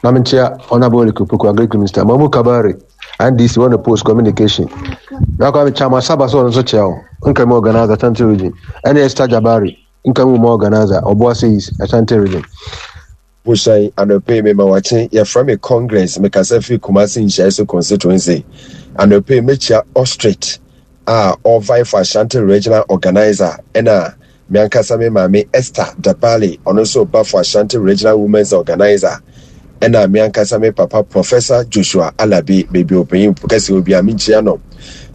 Na menkyea Honorable Eric Opoku, Agric Minister, Mamu Kabari, N D C, wɔne Post Communication. Na kwa me Chairman Saba so, ɔno nso kyea wo. Nkami Organizer, Ashanti Region. Ɛne Esther Jabari, Nkami Woman Organizer, Obuasi East, Ashanti Region. Bohyɛn anɔpa yi mema wakye. Yɛfrɛ me Congress, mekasa firi Kumasi Nhyiaeɛ so constituency. Anɔpa yi mɛkyia Ostrich a ɔvie for Ashanti Regional Organizer, ɛna me ankasa me maame Esther Dabale, ɔno nso ba for Ashanti Regional Women's Organizer, ɛna me ankasa me papa Professor Joshua Alabi, baabi ɔpanyin kɛse obi a menkyia no.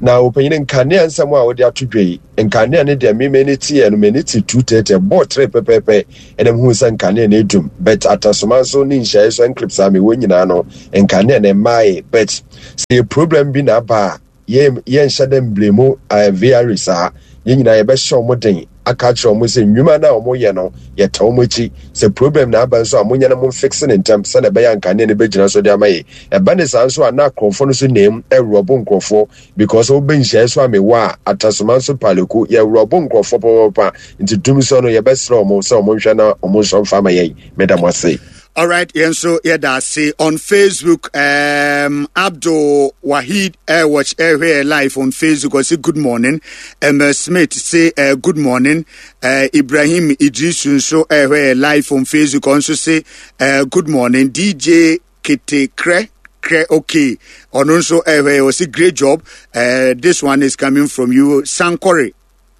Na ɔpanyin, nkanea nsɛm a wɔde ato dwa yi, nkanea ne deɛ me m'ani teɛ no, m'ani te two thirty bɔɔ tere pɛpɛɛpɛ, ɛna mehu sɛ nkanea no edum, but Atasoma nso ne nhyɛe so enclaves a mewɔ nyinaa no, nkanea no mmae. But sɛ yɛ problem bi na aba a, yɛn yɛnhyɛ dɛ mblame uh, V R A saa. Yɛn nyinaa yɛbɛhyɛ wɔn den aka akyerɛ wɔn sɛ nnwuma no a wɔyɛ no, yɛta wɔn akyi. Sɛ problem na aba nso a, monyɛ no, momfix ne ntɛm sɛdeɛ ɛbɛyɛ nkanea no bɛgyina so de ama yɛ. Ɛba ne saa nso a, na akorɔmfoɔ no so nam ɛwurɔbo nkurɔfoɔ, because wobɛ nhyɛe so a mewɔ a, Atasoma nso Paleko, yɛwurɔbo nkurɔfoɔ papapapa. Nti dum so no, yɛbɛsrɛ wɔn sɛ wɔn nhwɛ na wɔn nso mfa ama yɛn. Meda mo ase. All right, yɛn yɛda ase. On Facebook, um, Abdul Wahid uh, watch uh, here live on Facebook. I say good morning. Emma Smith say uh, good morning. Uh, Ibrahim Idrisu nso uh, here live on Facebook also say uh, good morning. D J Kete Kre Kre, okay. Ɔno nso ɛhwɛ, ɔsi great job. Uh, this one is coming from you, Sankore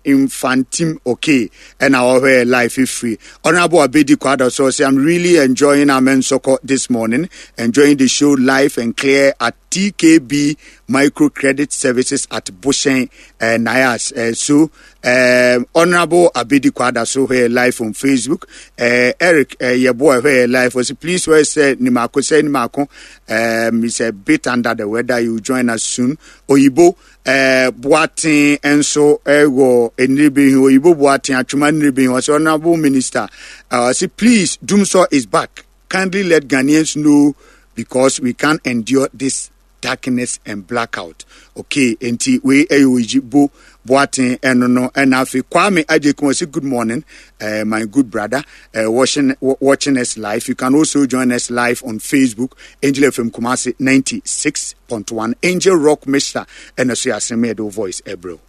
Infantim, okay. And our life is free. Honorable Abedi Kwada so say, "I'm really enjoying Amen Soko this morning, enjoying the show live and clear at T K B Microcredit Services at Bushen uh, Nayas." Uh, so, um, Honorable Abedi Kwada so here live on Facebook. Uh, Eric uh, your boy here live was, please where say Nimako say Nimako. Um, he's a bit under the weather. You join us soon. Oyibo uh, Boatin nso ɛwɔ Nnibi, Oyibo Boatin Atwuma Nnibi, ɔsɛ honourable minister, uh, say please, Dumsor is back, kindly let Ghanaians know because we can't endure this darkness and blackout. Okay, nti wei ɛyɛ Oyibo Boatin ɛno no. Ɛna afei Kwame Agyekun ɔsɛ good morning, uh, my good brother, uh, watching watching us live. You can also join us live on Facebook, Angel F M Kumasi ninety-six point one, Angel Rock Mister, ɛna so yɛ asɛm yɛde voice ɛbrɛ.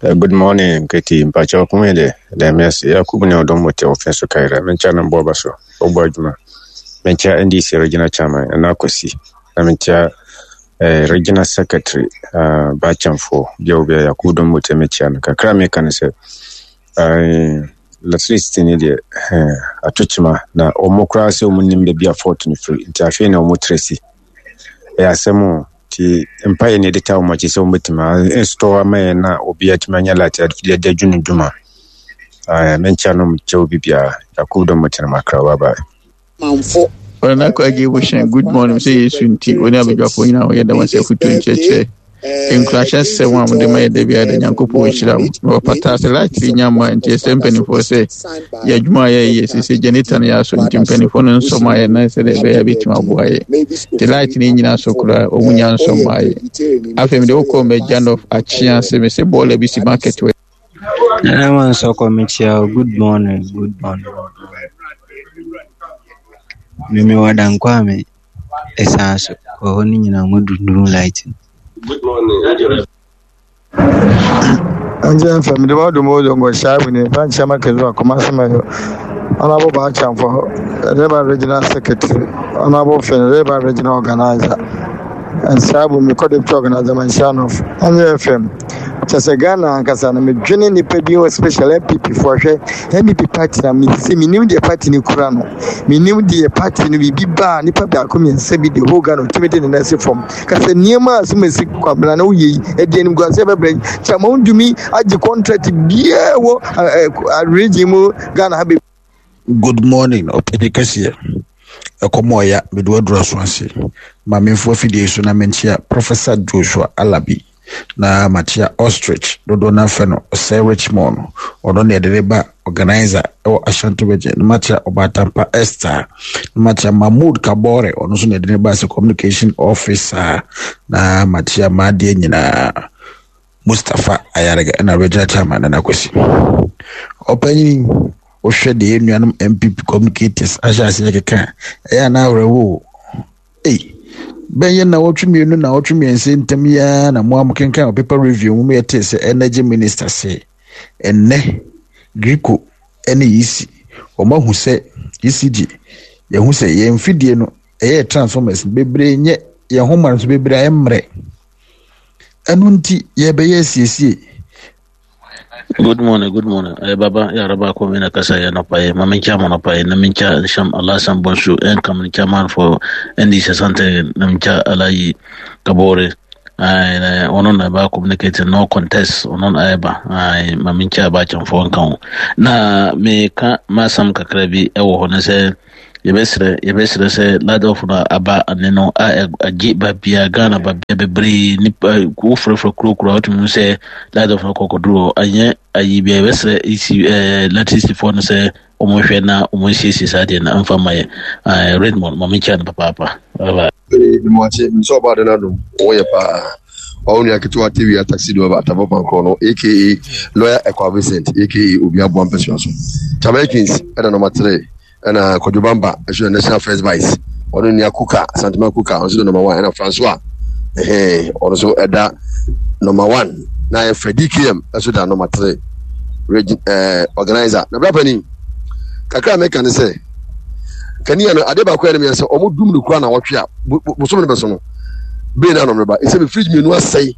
Uh, good morning, Nketi. Mpakyɛ ɔkome de, dɛm ase. Yakubu ne ɔdɔm wɔ te ɔfɛ so kaira. Menkyɛ no mbɔ ɔba so. Ɔbɔ adwuma. Menkyɛ N D C regional chairman, ɛna Akwasi. Na menkyɛ eh, regional secretary, uh, Bachamfo. Bia obi a Yakubu dɔm wɔ te mekyia no. Kakra meka no sɛ, uh, electricity ne deɛ, eh, ato kyima na ɔmo koraa sɛ ɔmo nim baabi a fault no firi. Nti afei na ɔmo trɛ si. Ɛyɛ asɛm o. Nti mpaeɛ ne yɛde ta wɔn akyi sɛ wɔbɛtumi install ama yɛn na obi atumi anya light de adi adwene dwuma. Menkyia no kyɛ obi biara. Yakubu dɔm tena makra. Bye bye. Manfo. Ɔnana Kwagye Bohyɛn, good morning. Sɛ Yesu nti, wɔne abadwafoɔ nyinaa wɔyɛ dɛm sɛ afotu nkyerɛkyerɛ nkurahyɛ sɛm a mode ma yɛ da biara da, Nyankopɔn nhyira mo. Na wɔpata sɛ light nya mma nti ɛsɛ mpanimfoɔ sɛ yɛ adwuma a yɛyɛ sɛ generator no yɛ asɔ, nti mpanimfoɔ no nsɔ ma yɛ na sɛdeɛ ɛbɛyɛ a bɛtumi aboa yɛ. Nti light no nyina so koraa, ɔmu nya nsɔ ma yɛ. Afei mede wokɔ Magya North akyea sɛ me sɛ bɔɔla bi si market wɔ. Nana Mansoko mekyia, good morning, good morning. Meme wɔ Dankwame ɛsan so wɔ hɔ no nyinaa mo dundun light. Good morning. Angel F M de wa dum o zongo shaibu ne ban chama ke zuwa kuma sama yo. Honorable Bachamfo, Reba Regional Secretary, Honorable Finn, Reba Regional Organizer, and Shaibu me co deputy organizer Manshanof. Angel F M. Kyɛ sɛ Ghana ankasa no, medwene nnipa bi wɔ special N P P foɔ. Hwɛ, N P P party na sɛ menim deɛ party no kura no, menim deɛ party no biribi ba a, nnipa baako mmiɛnsa bi de whole Ghana otumi de ne nan si fam kasɛ nneɛma a sɛ masi Kwabena na woyɛ yi ɛdi animguaseɛ bɛbrɛ kyɛ ma wontumi agye contract biara wɔ region mu Ghana ha bɛ. Good morning, ɔpɛni kɛseɛ. Ɛkɔm ɔya mede waduru aso ase. Ma memfo afidie so na menkyia Professor Joshua Alabi na makyia Ostrich dodoɔ no afɛ no ɔsɛ Richmond, ɔno ne yɛde ne ba organizer ɛwɔ Ashanti Region, na makyia Ɔbaatampa Esther, na makyia Mahmood Kabore, ɔno nso na yɛde ne ba sɛ communication officer, na makyia maadeɛ nyinaa. Mustapha Ayarega ɛna regional chairman Nana Kwesi. Ɔpanyin, wohwɛ deɛ yɛn nuanom N P P communicators ahyɛ aseɛ keka a, ɛyɛ ana awerɛwo. Ei, bɛyɛ na wɔtwe mmienu na wɔtwe mmiɛnsa ntam yi ara na mo a mokenkan wɔ paper review mu yɛtee sɛ energy minister sɛ ɛnnɛ GRIDCo ne E C wɔn ahu sɛ E C G yɛhu sɛ yɛn mfidie no ɛyɛ transformers bebree nyɛ yɛn ho ma nso bebree ayɛ mmerɛ, ɛno nti yɛbɛyɛ asiesie. Good morning, good morning. Eh, Baba, ya raba ko mina kasa ya no paye. Ma mincha mo no paye. Na mincha sham Allah sam bonsu en kam ni chairman for N D C Asante na mincha Alayi Kabore. Ay na ono na ba communicate no contest ono na eba. Ay ma mincha ba chan fo nkan. Na me ka ma sam kakra bi e wo ho na sɛ yɛbɛsrɛ yɛbɛsrɛ sɛ light off no aba ane no a agye baabia Ghana, baabia bebree nipa wofrɛfrɛ kurokuro a wotumi hu sɛ light off no kɔkɔduro anyɛ ayi bia. Yɛbɛsrɛ esi ɛɛ electricity foɔ no sɛ wɔn na wɔn nsiesie saa deɛ na mfa ma yɛ. ɛɛ Redmond, maame nkyɛn no papaapa. Bye bye. Mewakye nso ɔba ade no adom wɔyɛ paa. Ɔwo nua ketewa tewia taxi driver atafo pankorɔ no, A K A lawyer Ekwa Vincent, A K A obi aboa mpɛsua so. Jamaicans ɛna number three, ɛna Kwadwo Bamba ɛso yɛ national first vice. Ɔno nua Kuka Santema Kuka ɔno nso de number one, ɛna Francois ɛhɛn ɔno nso ɛda number one, na yɛ fɛ D K M ɛso da number three regi ɛɛ organizer. Na bra panin kakra a mɛka ne sɛ kanea no, adeɛ baako yɛ no yɛ sɛ ɔmo dum no kura na wɔtwe a bosom no bɛ so no bee na anɔmreba ɛsɛ mi fridge mmienu asɛe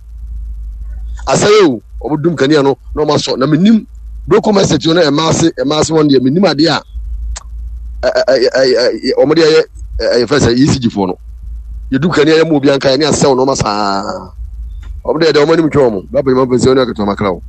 asɛe o. Ɔmo dum kanea no na ɔmo asɔ na menim broko message no ɛma ase ɛma ase wɔn deɛ menim adeɛ a ɛ ɛ ɛ ɔmo de ɛyɛ ɛyɛ fɛ sɛ E C G foɔ no yɛdu kanea yɛ mu obi anka yɛ ne asɛw na ɔmo asaa ɔmo de yɛ dɛ ɔmo anim twɛ ɔmo bɛbɛ nyɛ ɔmo pɛ sɛ ɔne akɛtɛ ɔmo akra o.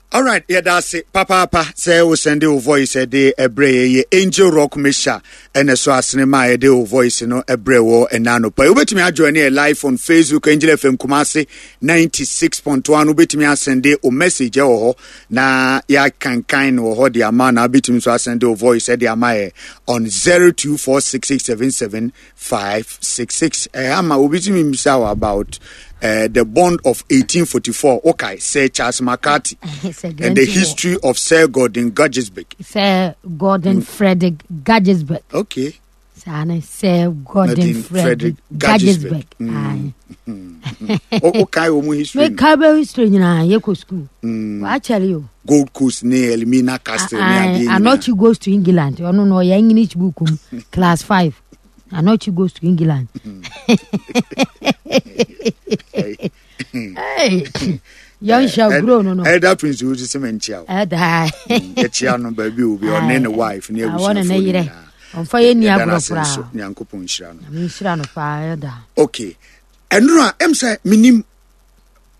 Alright, yɛda ase papaapa sɛ wo send wo voice de ɛbrɛ yɛ. Yɛ Angel Rock Mesha ɛna so asene ma a yɛde wo voice no ɛbrɛ wɔ ɛna anɔpa. Wobɛtumi ajoin yɛ live on Facebook, Angel F M Kumase ninety-six point one. Wobɛtumi asend wo message ɛwɔ hɔ na yɛakankan no wɔ hɔ de ama, na wobɛtumi nso asend wo voice ɛde ama yɛ on zero two four six six seven seven five six six. Ɛha ma obi tumi mbisa wo about uh, the bond of eighteen forty-four, okay, Sir Charles McCarthy and the history of Sir Gordon Guggisberg. Sir Gordon mm. Frederick Guggisberg. Okay. Saa ne Sir Gordon Frederick Guggisberg. O kae wɔn history. Mekae bɛ history nyinaa, yɛkɔ school. Waakyɛre o. Gold Coast ne Elmina Castle ne adeɛ nyinaa. Anɔkye Goes to England, ɔno no ɔyɛ English book mu class five. Anɔkye Goes to England. Yɛnhyɛ guro no no. Elder Prince wo sɛ mɛnkyia wo. Ɛda. Yɛkyia no baabi obi ɔne ne wife ne abusuafoɔ ne nyinaa. Ɔmfa yɛ ni agorɔ koraa. Nyankopɔn nhyira no. Nyame nhyira no paa, ɛda. Okay, ɛnoro a ɛm sɛ menim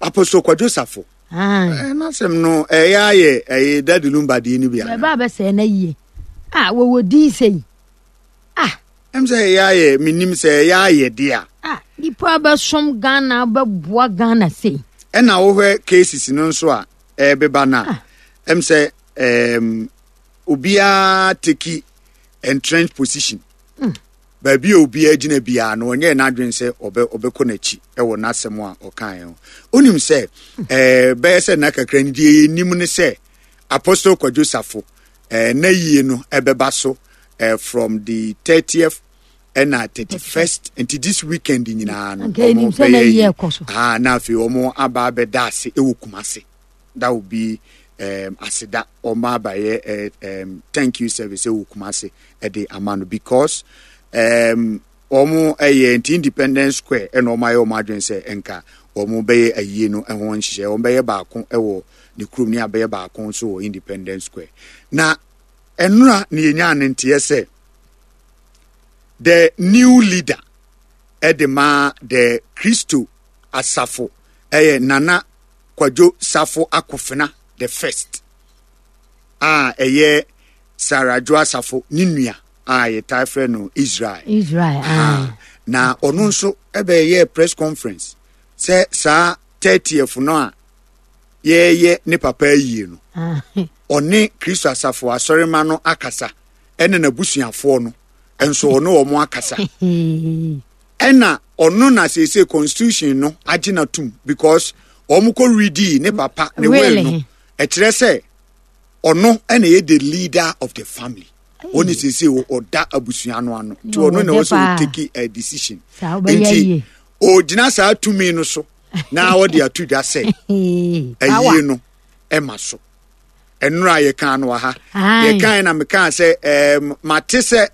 Apostle Kwadwo Safo n'asɛm no ɛyɛ ayɛ ɛyɛ Daddy Lumba deɛ no bi ana. Bɛba bɛsɛɛ na yie a wɔwɔ din sɛyi ah. Ɛm sɛ ɛyɛ ayɛ menim sɛ ɛyɛ ayɛ deɛ a. Ah, nipa bɛsom Ghana, bɛboa Ghana sei. Ɛna wohwɛ cases no nso a ɛbeba no a, ɛm sɛ ɛɛm obiara take entrenched position. Mm. Baabi a obiara gyina biara no, ɔnyɛ n'adwene sɛ ɔbɛ ɔbɛkɔ n'akyi ɛwɔ n'asɛm a ɔkaeɛ ho. Onim sɛ ɛɛ bɛyɛ sɛ nna kakra ni deɛ yɛnim ne sɛ Apostle Kwadwo Safo ɛɛ na yie no ɛbɛba so ɛɛ from the thirtieth ɛna thirty first, nti this weekend nyinaa no ɔmo bɛyɛ yi. Ah, na afei ɔmo aba abɛda ase ɛwɔ Kumase. That will be um, aseda ɔmo abayɛ uh, um, thank you service ɛwɔ Kumase ɛde ama no because um, wɔn ɛyɛ nti Independence Square ɛna wɔn ayɛ wɔn adwene sɛ nka wɔn bɛyɛ ayie no ho nhyehyɛ. Wɔn bɛyɛ baako ɛwɔ ne kurom ne abɛyɛ baako nso wɔ Independence Square. Na ɛnora ne yɛnya ne nteɛ sɛ the new leader ɛde ma the Kristo Asafo ɛyɛ Nana Kwadwo Safo Akofena the First a ɛyɛ Sarah Adwo Asafo ne nua a yɛtae frɛ no Israel. Israel. Ah. Na ɔno nso ɛbɛyɛ press conference sɛ saa thirtieth no a yɛyɛ ne papa ayie no, ɔne Kristo Asafo asɔrema no akasa, ɛne n'abusuafoɔ no nso ɔne wɔn akasa, ɛna ɔno na seesei constitution no agye n'atum because Wɔn kɔ redi ne papa ne will no, ɛkyerɛ sɛ ɔno ɛna yɛ the leader of the family. Ɔne sese ɔda abusua no ano nti ɔno na ɔsɛ ɔtake a decision, nti ɔgyina saa tumi no so na ɔde ato dwa sɛ ayie no ɛma so. Ɛnora yɛkaa no wɔ ha, yɛkaa na mekaa sɛ ɛɛm mate sɛ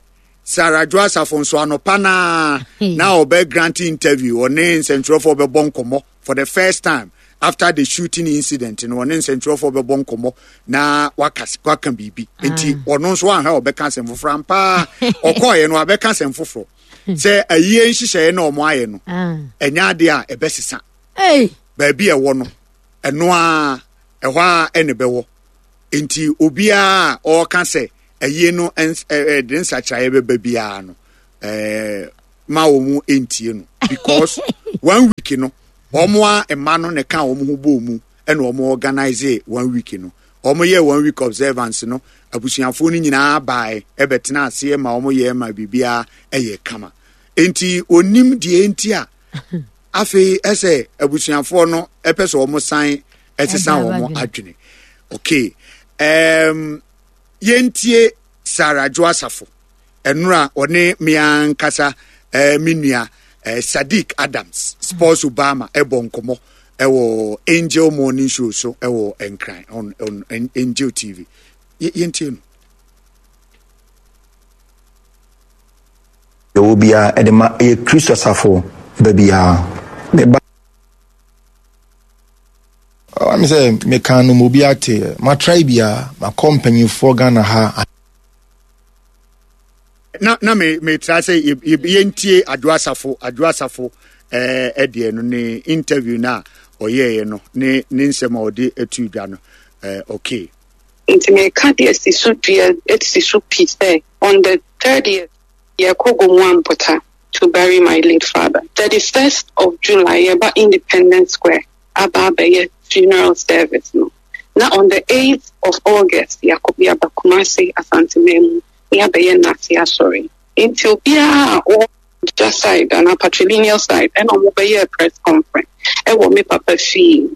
Sarah Adwoa Asafo nso anɔpa naa na ɔbɛ grant interview, ɔne nsɛntwerɛfoɔ bɛbɔ nkɔmmɔ for the first time after the shooting incident no, ɔne nsɛntwerɛfoɔ bɛbɔ nkɔmmɔ na waka waka biribi, nti ɔno nso ahwɛ ɔbɛka asɛm foforɔ ampaa. Ɔkɔɔyɛ no abɛka asɛm foforɔ sɛ ayie nhyehyɛeɛ na ɔmo ayɛ no ɛnyɛ adeɛ a ɛbɛsesa. Baabi a ɛwɔ no ɛno a ɛhɔ a ɛna ɛbɛwɔ, nti obiara a ɔreka sɛ ayie no ɛde nsakyeraeɛ bɛba biara no, ɛɛ ma wɔn ntie no, because one week no wɔn a mma no na ɛka wɔn ho bɔɔ mu ɛna wɔn organize one week no. Wɔn yɛ one week observance no, abusuafoɔ no nyinaa baeɛ ɛbɛtena aseɛ ma wɔn yɛ ma biribiara ɛyɛ kama, nti onim deɛ nti a afei ɛsɛ abusuafoɔ no ɛpɛ sɛ wɔn san ɛsesa wɔn adwene. Okay, um, yɛntie Sarah Adwoa Asafo ɛnora ɔne mmea nkasa ɛɛ me nua ɛɛ Sadiq Adams Sports Obama ɛbɔ nkɔmɔ ɛwɔ Angel Morning Show so ɛwɔ Nkran on on Angel T V. Yɛntie no. Yɛwɔ biara ɛde ma ɛyɛ Kristo asafo ba biara meba ame sɛ meka no ma obi ate. Matrae biara, makɔ mpanyimfoɔ Ghana ha. Na na me me tra sɛ yɛntie Adwoa Asafo Adwoa Asafo ɛɛ ɛdeɛ no, ne interview no a ɔyɛɛyɛ no, ne ne nsɛm a ɔde atu dwa no. ɛɛ okay. Nti meka deɛ si so dua si so pi sɛ on the thirtieth yɛkɔ Gomoa Mpota to bury my late father. thirty-first of July yɛba Independence Square aba abɛyɛ funeral service no, na on the eighth of August yɛakɔ yɛaba Kumase Asanteman mu na yɛabɛyɛ Nase asɔre. Nti obiara a ɔwɔ gya side anaa patrilineal side ɛna ɔmo bɛyɛ press conference ɛwɔ me papa fie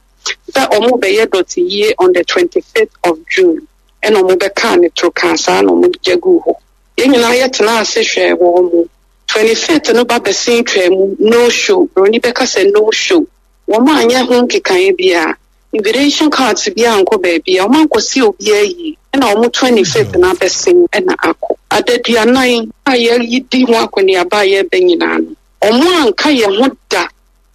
sɛ ɔmo bɛyɛ dɔte yie on the twenty-fifth of June, ɛna ɔmo bɛkaa ne toro kaa saa na ɔmo gya gu hɔ. Yɛn nyinaa yɛtena ase hwɛ wɔn mo twenty-fifth no ba bɛsen twaa mu, no show. Broni bɛka sɛ no show. Wɔn anyɛ ho nkekaeɛ biara, invitation cards bi ankɔ baabi a wɔn ankɔsi obiara yie, ɛna wɔn twenty-fifth no abɛsen ɛna akɔ adaduanan a yɛyi di ho akɔneaba a yɛreba nyinaa no, wɔn anka yɛn ho da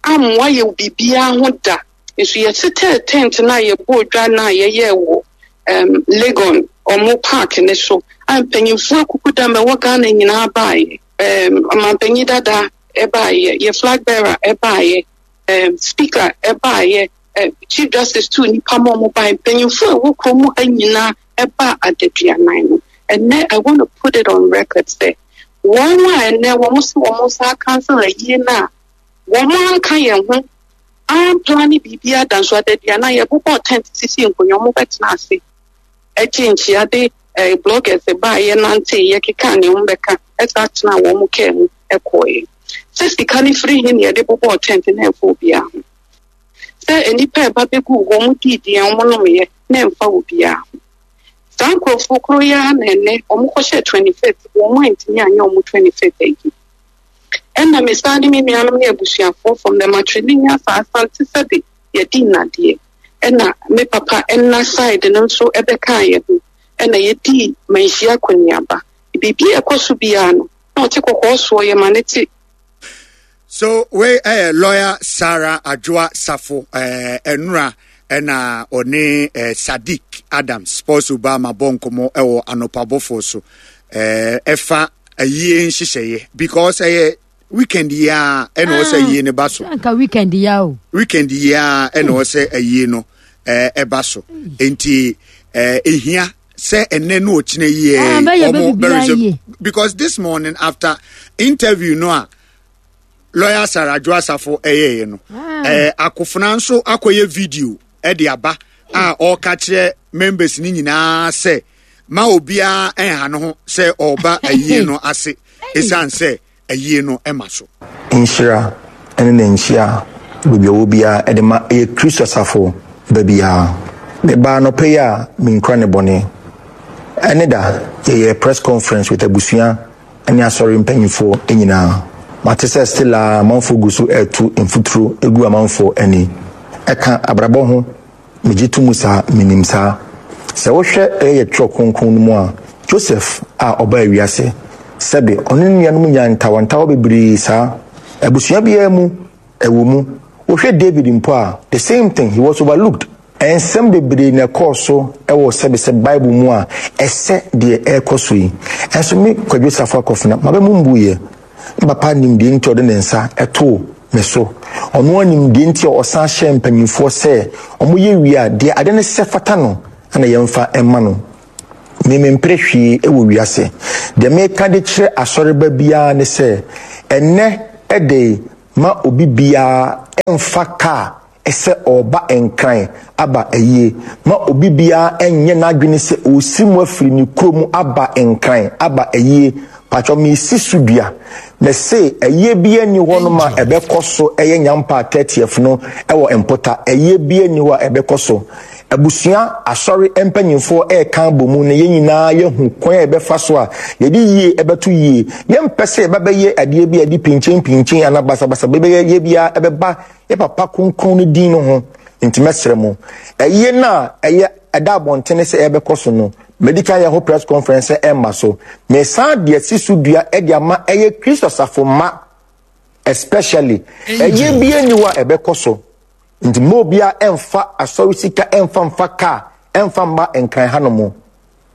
ammoa yɛ biribiara ho da. Nso yɛtetɛɛ tent no a yɛbɔ dwa no a yɛyɛɛ wɔ um, Legon ɔmo park ne so a mpanyinfoɔ akuku dam ɛwɔ Ghana nyinaa baeɛ, um, ɔmanpanyin dada ɛbaeɛ, yɛ flag bearer ɛbaeɛ, um, speaker ɛbaeɛ, uh, Chief Justice tu nipa ma ɔmo baeɛ, mpanyinfoɔ a ɛwɔ kurom ha nyinaa ɛba adaduanan no. Ɛnɛ I want to put it on record sɛ wɔn a ɛnɛ wɔn sɛ wɔn nsa cancel ayie no a wɔn anka yɛn ho amplan biribi ada, nso adaduanan yɛbobɔ tent sisi nkonnwa, wɔn bɛtena ase ɛgye nkyia de ɛɛ bloggers baayɛ nante yɛkeka nea wɔn bɛka ɛsa tena wɔn kaa mu ɛkɔɔɛ sɛ sika no firi hin yɛde bobɔ tent na ɛfɔ obiara ho sɛ nnipa ɛba bɛgu wɔn diidi a wɔn nomyɛ na ɛmfa obiara ho. Saa nkurɔfoɔ koro yi ara na ɛnɛ wɔn kɔhyɛ twenty fifth wɔn antumi anyɛ wɔn twenty fifth ayi. Ɛna mesan de me nuanom ne abusuafoɔ from the matrilineal saa Asante sɛde yɛdi nnadeɛ, ɛna me papa ɛna side no nso ɛbɛka yɛ ho, ɛna yɛdi manhyia akɔneaba. Biribi a ɛkɔ so biara no na ɔte kɔkɔɔ soɔ yɛ ma ne te. So wei ɛyɛ lawyer Sarah Adwoa Safo ɛɛ ɛnura ɛna ɔne ɛɛ Sadiq Adams Sports Obama bɔ nkɔmɔ ɛwɔ anɔpabɔfoɔ so ɛɛ ɛfa ayie nhyehyɛeɛ, because ɛyɛ weekend yi a ɛna ɔsɛ ayie no ba so. Nka weekend ya o. Weekend yi a ɛna ɔsɛ ayie no ɛɛ ɛba so, nti ɛɛ ehia sɛ ɛnɛ no ɔkyena yie ɔmo bɛrɛ, because this morning after interview no a lawyer Sarah Adwoa Asafo ɛyɛɛyɛ no, ɛɛ akofena nso akɔyɛ video ɛde aba a ɔreka kyerɛ members ne nyinaa sɛ ma obiara ɛnha no ho sɛ ɔreba ayie no ase, ɛsiane sɛ ayie no ɛma so. Nhyira ne ne nhyia Baabi a ɔwɔ biara ɛde ma ɛyɛ Kristo asafo baabiara. Mebaa anɔpa yi a menkura ne bɔne. Ɛne da yɛyɛ press conference with abusua ne asɔre mpanyinfoɔ nyinaa. Mate sɛ still a amanfoɔ gu so ɛreto mfuturo egu amanfoɔ ani. Ɛka abrabɔ ho, megye to mu saa, menim saa. Sɛ wohwɛ ɛyɛ twerɛ kronkron no mu a, Joseph a ɔbaa wiase, sɛbe ɔne ne nuanom nyaa ntawantawa bebree saa. Abusua biara mu, ɛwɔ mu. Wohwɛ David mpo a, the same thing, he was overlooked. Nsɛm bebree na ɛkɔɔ so ɛwɔ sɛbe sɛ Bible mu a ɛsɛ deɛ ɛrekɔ so yi. Ɛnso me Kwadwo Safo Akɔfena, maba mu mbuyɛ. Me papa nim deɛ nti a ɔde ne nsa ɛtoo me so. Ɔno anim deɛ nti a ɔsan hyɛ mpanyinfoɔ sɛ ɔmo wie a deɛ ade ne sɛ fata no ɛna yɛmfa ɛma no. Me mempere hwee ɛwɔ wiase. Deɛ meka de kyerɛ asɔreba biara ne sɛ ɛnɛ ɛde ma obi biara ɛmfa kaa ɛsɛ ɔba Nkran aba ayie. Ma obi biara ɛnyɛ n'adwene sɛ ɔsi mu afiri ne kurom aba Nkran aba ayie. Patwɔ mesi so dua. Mɛse ayie biara ni hɔ nom a ɛbɛkɔ so ɛyɛ Nyampa thirtieth no ɛwɔ Mpota. Ayie biara ni hɔ a ɛbɛkɔ so. Abusua asɔre mpanyinfoɔ ɛɛka bɔ mu na yɛn nyinaa yɛhu kwan a yɛbɛfa so a yɛde yie ɛbɛto yie. Yɛmpɛ sɛ yɛbɛbɛyɛ adeɛ bi a yɛde pinkyen pinkyen anaa basabasa bɛbɛyɛ yɛ biara ɛbɛba yɛ papa kronkron no din no ho. Nti mɛsrɛ mo, ɛyie no a ɛyɛ ɛda abɔntene sɛ ɛbɛkɔ so no, medi kan yɛ ho press conference sɛ ɛmma so. Mesan deɛ si so dua ɛde ama ɛyɛ Kristo asafo mma especially. Ɛyie bi ni hɔ a ɛbɛkɔ so. Nti mo bia ɛmfa asɔre sika ɛmfa mfa kaa ɛmfa mma Nkran ha no mo.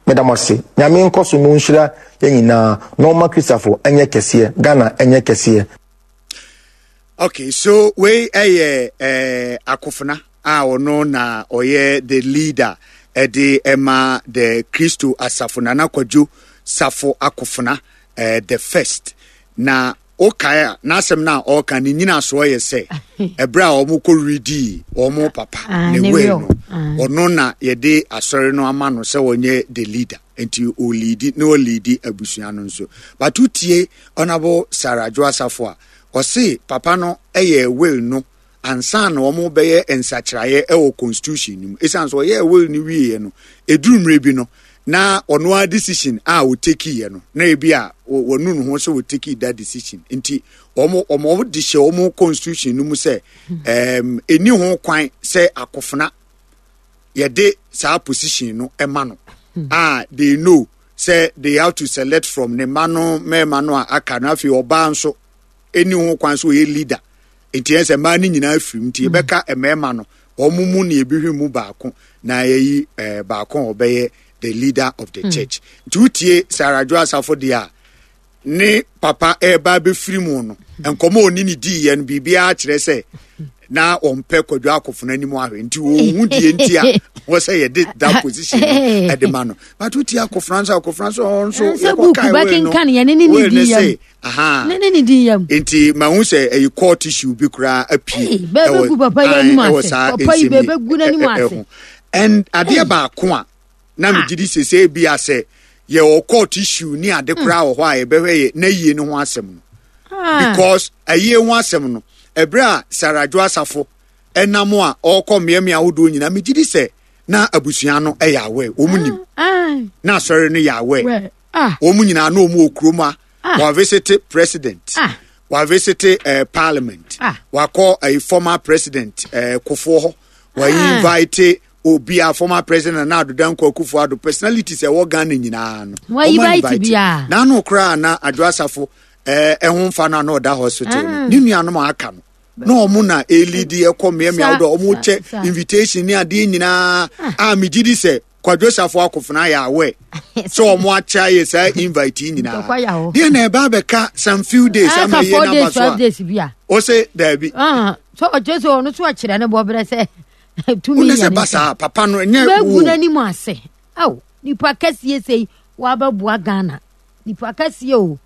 Meda mo ase. Nyame nkɔ so no nhyira yɛn nyinaa na ɔma Kristafo ɛnyɛ kɛseɛ, Ghana ɛnyɛ kɛseɛ. Okay, so wei ɛyɛ eh, Akofena a ɔno na ɔyɛ the leader ɛde ɛma the Kristo asafo, Nana Kwadwo Safo Akofena eh, the first. Na okae a n'asɛm no a ɔreka ne nyinasoɔ yɛ sɛ ɛberɛ a wɔn kɔ redi wɔn papa Ah, ne ne will will. no, Ah. ɔno na yɛde asɔre no ama no sɛ ɔnyɛ the leader, nti ɔleadi na ɔleadi abusua no nso. But wotie Honourable Sarah Adwo Asafo a ɔse papa no ɛyɛ will no ansa na wɔn bɛyɛ nsakyeraeɛ ɛwɔ constitution no mu. Ɛsiane sɛ ɔyɛɛ will no wieɛ no, ɛduru mmerɛ bi no na ɔno ara decision a ɔtakeeɛ no na ebi a wɔnu ne ho sɛ ɔtakee that decision, nti wɔn wɔn de hyɛ wɔn constitution no mu sɛ ɛɛm ɛni ho kwan sɛ Akofena yɛde saa position no ɛma no, a they know sɛ they have to select from ne mma no mmarima no a aka no. Afei ɔbaa nso ɛni ho kwan sɛ ɔyɛ leader, nti yɛn sɛ mmaa no nyinaa firi mu, nti yɛbɛka mmarima no wɔn mu na yɛbɛhwɛ mu baako na yɛyi ɛɛ baako a ɔbɛyɛ the leader of the Mm. church. Nti wotie Sarah Adwo Asafo deɛ a ne papa ɛreba abɛfiri mu no, nkɔmɔ a ɔne ne diiɛ no, biribiara kyerɛ sɛ na ɔmpɛ Kwadwo Akofena anim ahwɛ, nti ɔnhu deɛ nti a wɔ sɛ yɛde that position no ɛde ma no. But wotie Akofena nso, Akofena nso ɔno nso Sɛ book yɛkɔkae will no, bɛkenkan yɛne ne ne will no di yam. sɛ aha Ne ne ne di yam. Nti mahu sɛ ɛyɛ court issue bi koraa apue Ei, bɛbɛgu papa yi anim ɛwɔ ase. saa Papa yi nsɛm yi bɛbɛgu n'anim ɛ- ɛ- ase. ɛho. And adeɛ baako a na megye di sɛ sɛ bi a sɛ yɛwɔ court issue ne ade koraa wɔ hɔ a yɛbɛhwɛ yɛ na yie no ho asɛm no, Ah. because ayie ho asɛm no, ɛberɛ a Sarah Adwo Asafo ɛnam a ɔrekɔ mmeammea ahodoɔ nyinaa, megye di sɛ na abusua no ɛyɛ aware, wɔn nim Ah. na asɔre no yɛ aware. Well, ah. Wɔn nyinaa na wɔn wɔ kurom a Ah. wɔavisit president, Ah. wɔavisit uh, parliament, Ah. wakɔ uh, former president uh, Kufuor hɔ, Ah. wɔinvite obi a former president Nana Addo Dankwa Akufo Addo, personalities ɛwɔ Ghana nyinaa no Wɔn wɔn invite invite. biara. N'ano koraa na Adwo Asafo ɛɛ ɛho nfa no a na ɔda hospital no, Ah. ne nuanom a aka no na ɔmo na elidi ɛkɔ mmeammea Sa- ahodoɔ, ɔmo sa- kyɛ sa. invitation ne adeɛ nyinaa a megye di sɛ Kwadwo Safo Akofena yɛ aware sɛ ɔmo akyɛ ayɛ saa invite yi nyinaa. Ntɔkwa yɛ hɔ. Deɛ na ɛba abɛka some few days ama Aka yie four n'aba days, so five a days bi a. ɔsɛ daabi. Ah, so ɔkyerɛ sɛ ɔno so ɔkyerɛ ne bɔberɛ sɛ tumi Wone yɛ sɛ ne ba nsa. saa papa no ɛnyɛ Bɛgu wo. n'anim ase. Aw, nipa kɛseɛ sei wabɛboa Ghana. Nipa kɛseɛ o.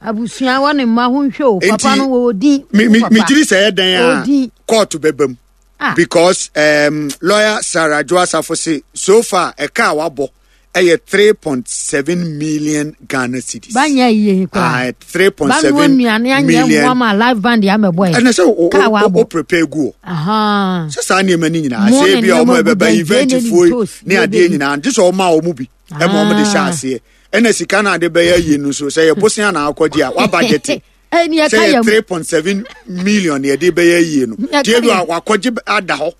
Abusua wɔ ne mma ho nhwɛ o. Papa Enti, no wɔ din. me me Papa. me gyiri sɛ ɛyɛ dan a Odin. court bɛba mu Ah. because um, lawyer Sarah Adwo Asafo se so far ɛka a wabɔ ɛyɛ three point seven million Ghana cedis. Banya yie koraa. Ah, three point seven million. Banu live band ya mɛbɔ yɛ. Ɛnna sɛ o o o prepare gu o. Sɛ saa nneɛma ni nyinaa sɛ ebi a wɔn ɛbɛba event fuo ne adeɛ nyinaa nti sɛ wɔn a wɔn bi ɛma wɔn de hyɛ aseɛ ɛnna sika na ade bɛyɛ yie no so sɛ yɛ bosia na akɔgye a waba gyete sɛ yɛ three point seven million yɛde bɛyɛ yie no tie bi a wakɔgye ada hɔ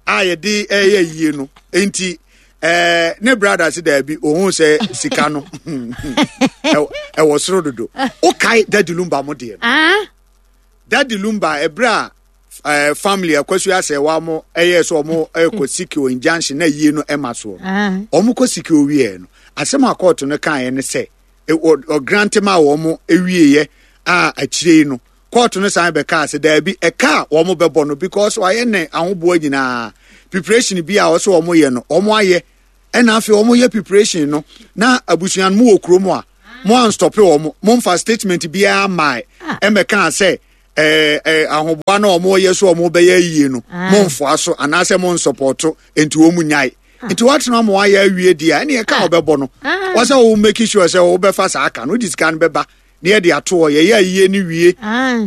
a yɛde ɛyɛ yie no nti. Eh, ne brother si daabi ohun sɛ sika no ɛwɔ soro dodo okae Daddy Lumba mo deɛ no Daddy Lumba ɛbrɛ a eh, family akwasu asɛ wa mo ɛyɛ sɛ ɔmo ɛkɔ sikio injunction na yie no ɛma soɔ ɔmo kɔ sikio wieɛ no asɛm a kɔɔto no kaeɛ ne sɛ ɔgrante ma wɔn ewieɛ a akyire no kɔɔto no san bɛka sɛ daabi ɛka a wɔn bɛbɔ no because wɔayɛ ne ahoboa nyinaa preparation bi a wɔsɛ wɔn yɛ no wɔn ayɛ ɛna afei wɔn yɛ preparation no na abusua no mu wɔ kurom a mo anstɔpe wɔn mo nfa statement biara maa ɛmɛka sɛ ɛɛ ɛɛ ahoboa na wɔn yɛ so wɔn bɛyɛ yie no mo nfoa so anaasɛ mo nsɔpɔto nti wɔn nyae nti wɔatena mo ayɛ awie deɛ ɛna ɛka wɔbɛbɔ no wɔsɛ wɔn make sure sɛ wɔbɛfa saa aka no wɔde sika no bɛba. Ne yɛde ato hɔ yɛyɛ ayie ne wie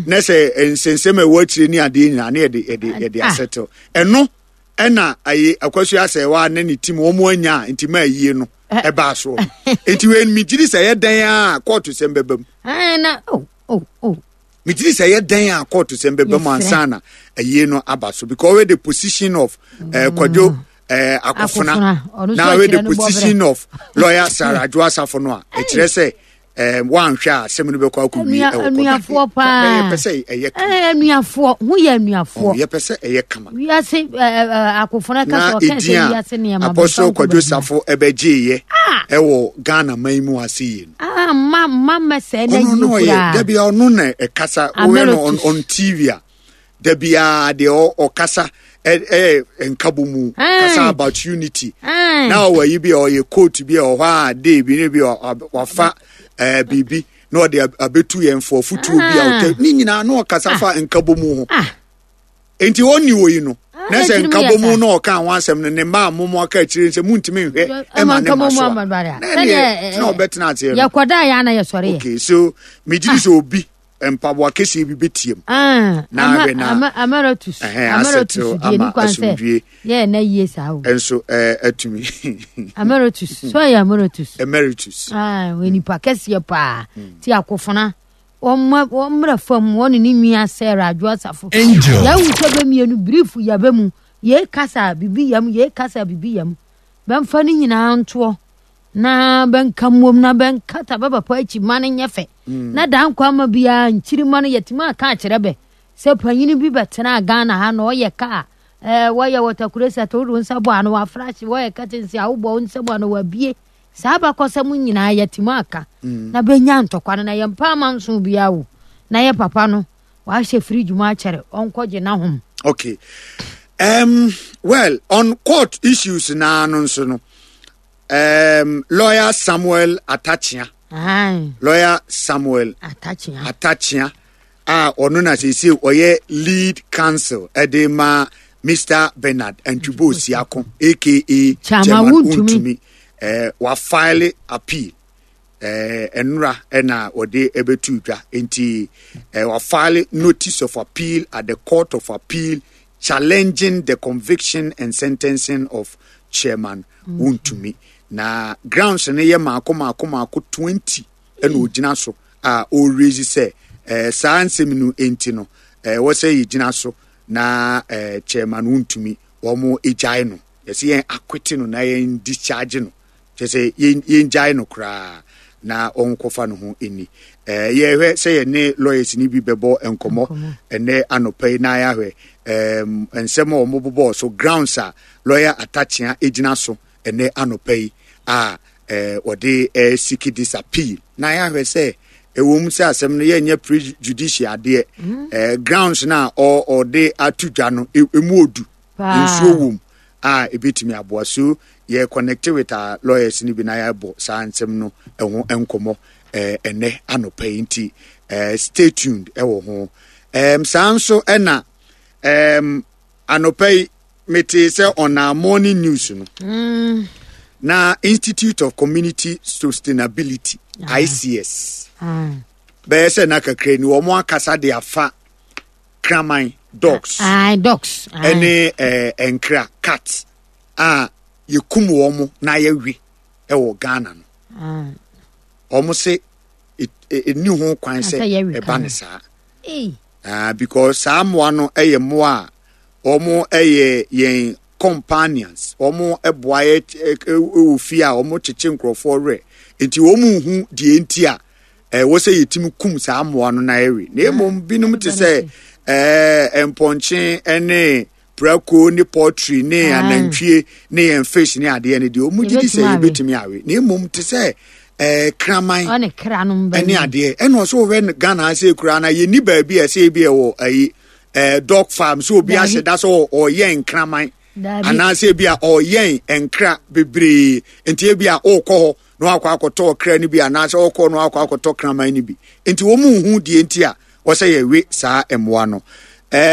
na sɛ nsɛnsɛm a ɛwɔ akyire ne adeɛ nyinaa ne yɛde yɛde yɛde asɛtew ɛno ɛna ayi akwasu asɛwa ne ne tim wɔn anya nti ma ayie no ɛbaa soɔ nti wei megyiri sɛ ɛyɛ dan a kɔɔto sɛm bɛba mu megyiri sɛ ɛyɛ dan a kɔɔto sɛm bɛba mu ansa na ayie no aba so because wey the position of ɛɛ Kwadwo ɛɛ Akofena na wey the position of lawyer Sarah Adwoa Safo no a ɛkyerɛ sɛ. Um, wanhwɛ a asɛm no bɛkɔ akɔwie ɛwɔ anuafoɔ paa yɛpɛ sɛ ɛyɛ kama anuafoɔ ho yɛ anuafoɔ yɛpɛ sɛ ɛyɛ kama wiase akofona ka sɛ ɔka sɛ wiase nneɛma Apostle Kwadwo Safo ɛbɛgyeeɛ ɛwɔ Ghana man mu ase yie no ah ma ma mɛsɛ na yie koraa dabi ɔno na ɛkasa woyɛ no on, on T V a dabi a deɛ ɔkasa ɛyɛ nkabɔ mu kasa about unity na ɔwɔ yi bi a ɔyɛ coat bi a ɔhɔ a day bi ne bi a wafa ɛɛ biribi na ɔde abetu yɛn fo afutuo bi a ɔtɛ ne nyinaa na ɔkasa fa nkabɔ mu ho nti ɔnni wɔ yi no na sɛ nkabɔ mu na ɔka ho asɛm no ne mma a momo aka akyire sɛ muntumi nhwɛ ɛma ne ma so a na ɛneɛ na ɔbɛtena aseɛ no yɛkɔda yɛ ana yɛsɔre yɛ okay so megye di sɛ obi mpaboa kɛseɛ bi bɛtiem na ahwɛ na emeritus emeritus deɛ ni kwan sɛ yɛ na yie saa o nso atumi emeritus so yɛ emeritus emeritus ah wɔ nipa kɛseɛ paa ti akofona wɔn wɔn mmerɛ fam wɔn ne ne nua Sarah Adwoa Safo yɛawu sɛ bɛmienu brief yɛbɛ mu yɛ kasa bibi yam yɛ kasa bibi yam bɛmfa ne nyinaa ntoɔ na bɛnka mmom na bɛnkata bɛbɛpɔ akyi ma no nyɛ fɛ na dan kwa ma biara nkyiri ma no yɛtumi aka akyerɛ bɛ sɛ panyini bi bɛtena Ghana ha na ɔyɛ kaa ɛɛ wɔyɛ wɔtakure sɛ to wo nsa bɔ ano wafrahye wɔyɛ kɛtense a wobɔ wo nsa bɔ ano wabie saa bakɔsɛm nyinaa yɛtumi aka na bɛnya ntɔkwa no na yɛmpa ama nso biara wo na yɛ papa no wahyɛ firi dwuma akyɛre ɔnkɔgye n'ahom. Okay, um, well on court issues naa no nso no um, lawyer Samuel Atachia. Aye. Lawyer Samuel Atachia. Atachia a ɔno na seesei ɔyɛ lead counsel ɛde ma Mister Bernard Antwibo Siako aka Chairman Wontumi eh, wafile appeal eh, ɛnora ɛna ɔde ɛbɛtu dwa nti eh, wafile notice of appeal at the court of appeal challenging the conviction and sentencing of Chairman Wontumi. Na grounds no yɛ maako maako maako twenty ɛna ogyina so a ɔrezi sɛ eh, saa nsɛm no enti no eh, wɔ sɛ yɛgyina so na eh, Chairman Wontumi wɔn gyae no yɛsɛ yɛn akwete no na yɛn discharge no kyerɛ sɛ yɛn yɛn gyae no koraa na ɔnkɔfa no ho ani eh, yɛhwɛ sɛ yɛne lawyers ni bi bɛbɔ nkɔmmɔ ɛnɛ anɔpa yi na yɛahwɛ um, nsɛm a wɔn bobɔɔ so grounds a lawyer Atachia gyina so ɛnɛ anɔpa yi a eh, wɔde eh, seek this appeal na yɛahwɛ sɛ ɛwɔ mu sɛ asɛm no yɛnyɛ prejudicial adeɛ mm. eh, grounds na ɔde ato dwa no emu odu nsuo wɔ mu a ebetumi aboa so yɛ connect with our lawyers ni bi na yɛabɔ saa nsɛm no ɛho nkɔmmɔ ɛnɛ anɔpa yi nti stay tuned ɛwɔ ho. Um, saa nso ɛna um, anɔpa yi mete sɛ on our morning news no mm. Na Institute of Community Sustainability, Ah. I C S, Ah. bɛyɛ sɛ na kakra ni wɔn akasa de afa kraman, dogs, Ah, dogs. Ah. ɛne ɛɛ nkra, cat, a yɛkum wɔn na yɛwe ɛwɔ Ghana no. Ah. Wɔn se ɛni ho kwan sɛ Sɛ yɛwe ɛba ka ne no. saa. Ei. Ah, because saa mmoa no yɛ mmoa a wɔn yɛ yɛn companions. Wɔn boa yɛ ɛ- ɛ- wɔ fie a wɔn kyekye nkurɔfoɔ werɛ, nti wɔn nhu deɛ nti a ɛwɔ sɛ yɛtumi kum saa mmoa no na yɛwe. Na mmom binom te sɛ ɛɛ mpɔnkye ne prako ne poultry ne Ah. anantwie ne yɛn fish ne adeɛ no deɛ, wɔn gye di sɛ Yɛbɛtumi awe. Yɛbɛtumi awe. Na mmom te sɛ ɛɛ kraman Ɔne kra no mbɛ. Ɛne adeɛ ɛna ɔsɛ wɔhwɛ no Ghana ha sɛ kura na yɛni baabi a ɛsɛ bi ɛwɔ ayi ɛɛ dog farm sɛ obi Dabi. ahyɛ da sɛ ɔ- ɔyɛ nkraman Dabi. anaasɛ bi a ɔyɛn nkra bebree, nti ebi a ɔrekɔ hɔ na wakɔ akɔtɔ ɔkra no bi anaasɛ ɔrekɔ na wakɔ akɔtɔ kraman no bi, nti wɔn mu nhu deɛ nti a wɔsɛ yɛwe saa mmoa no.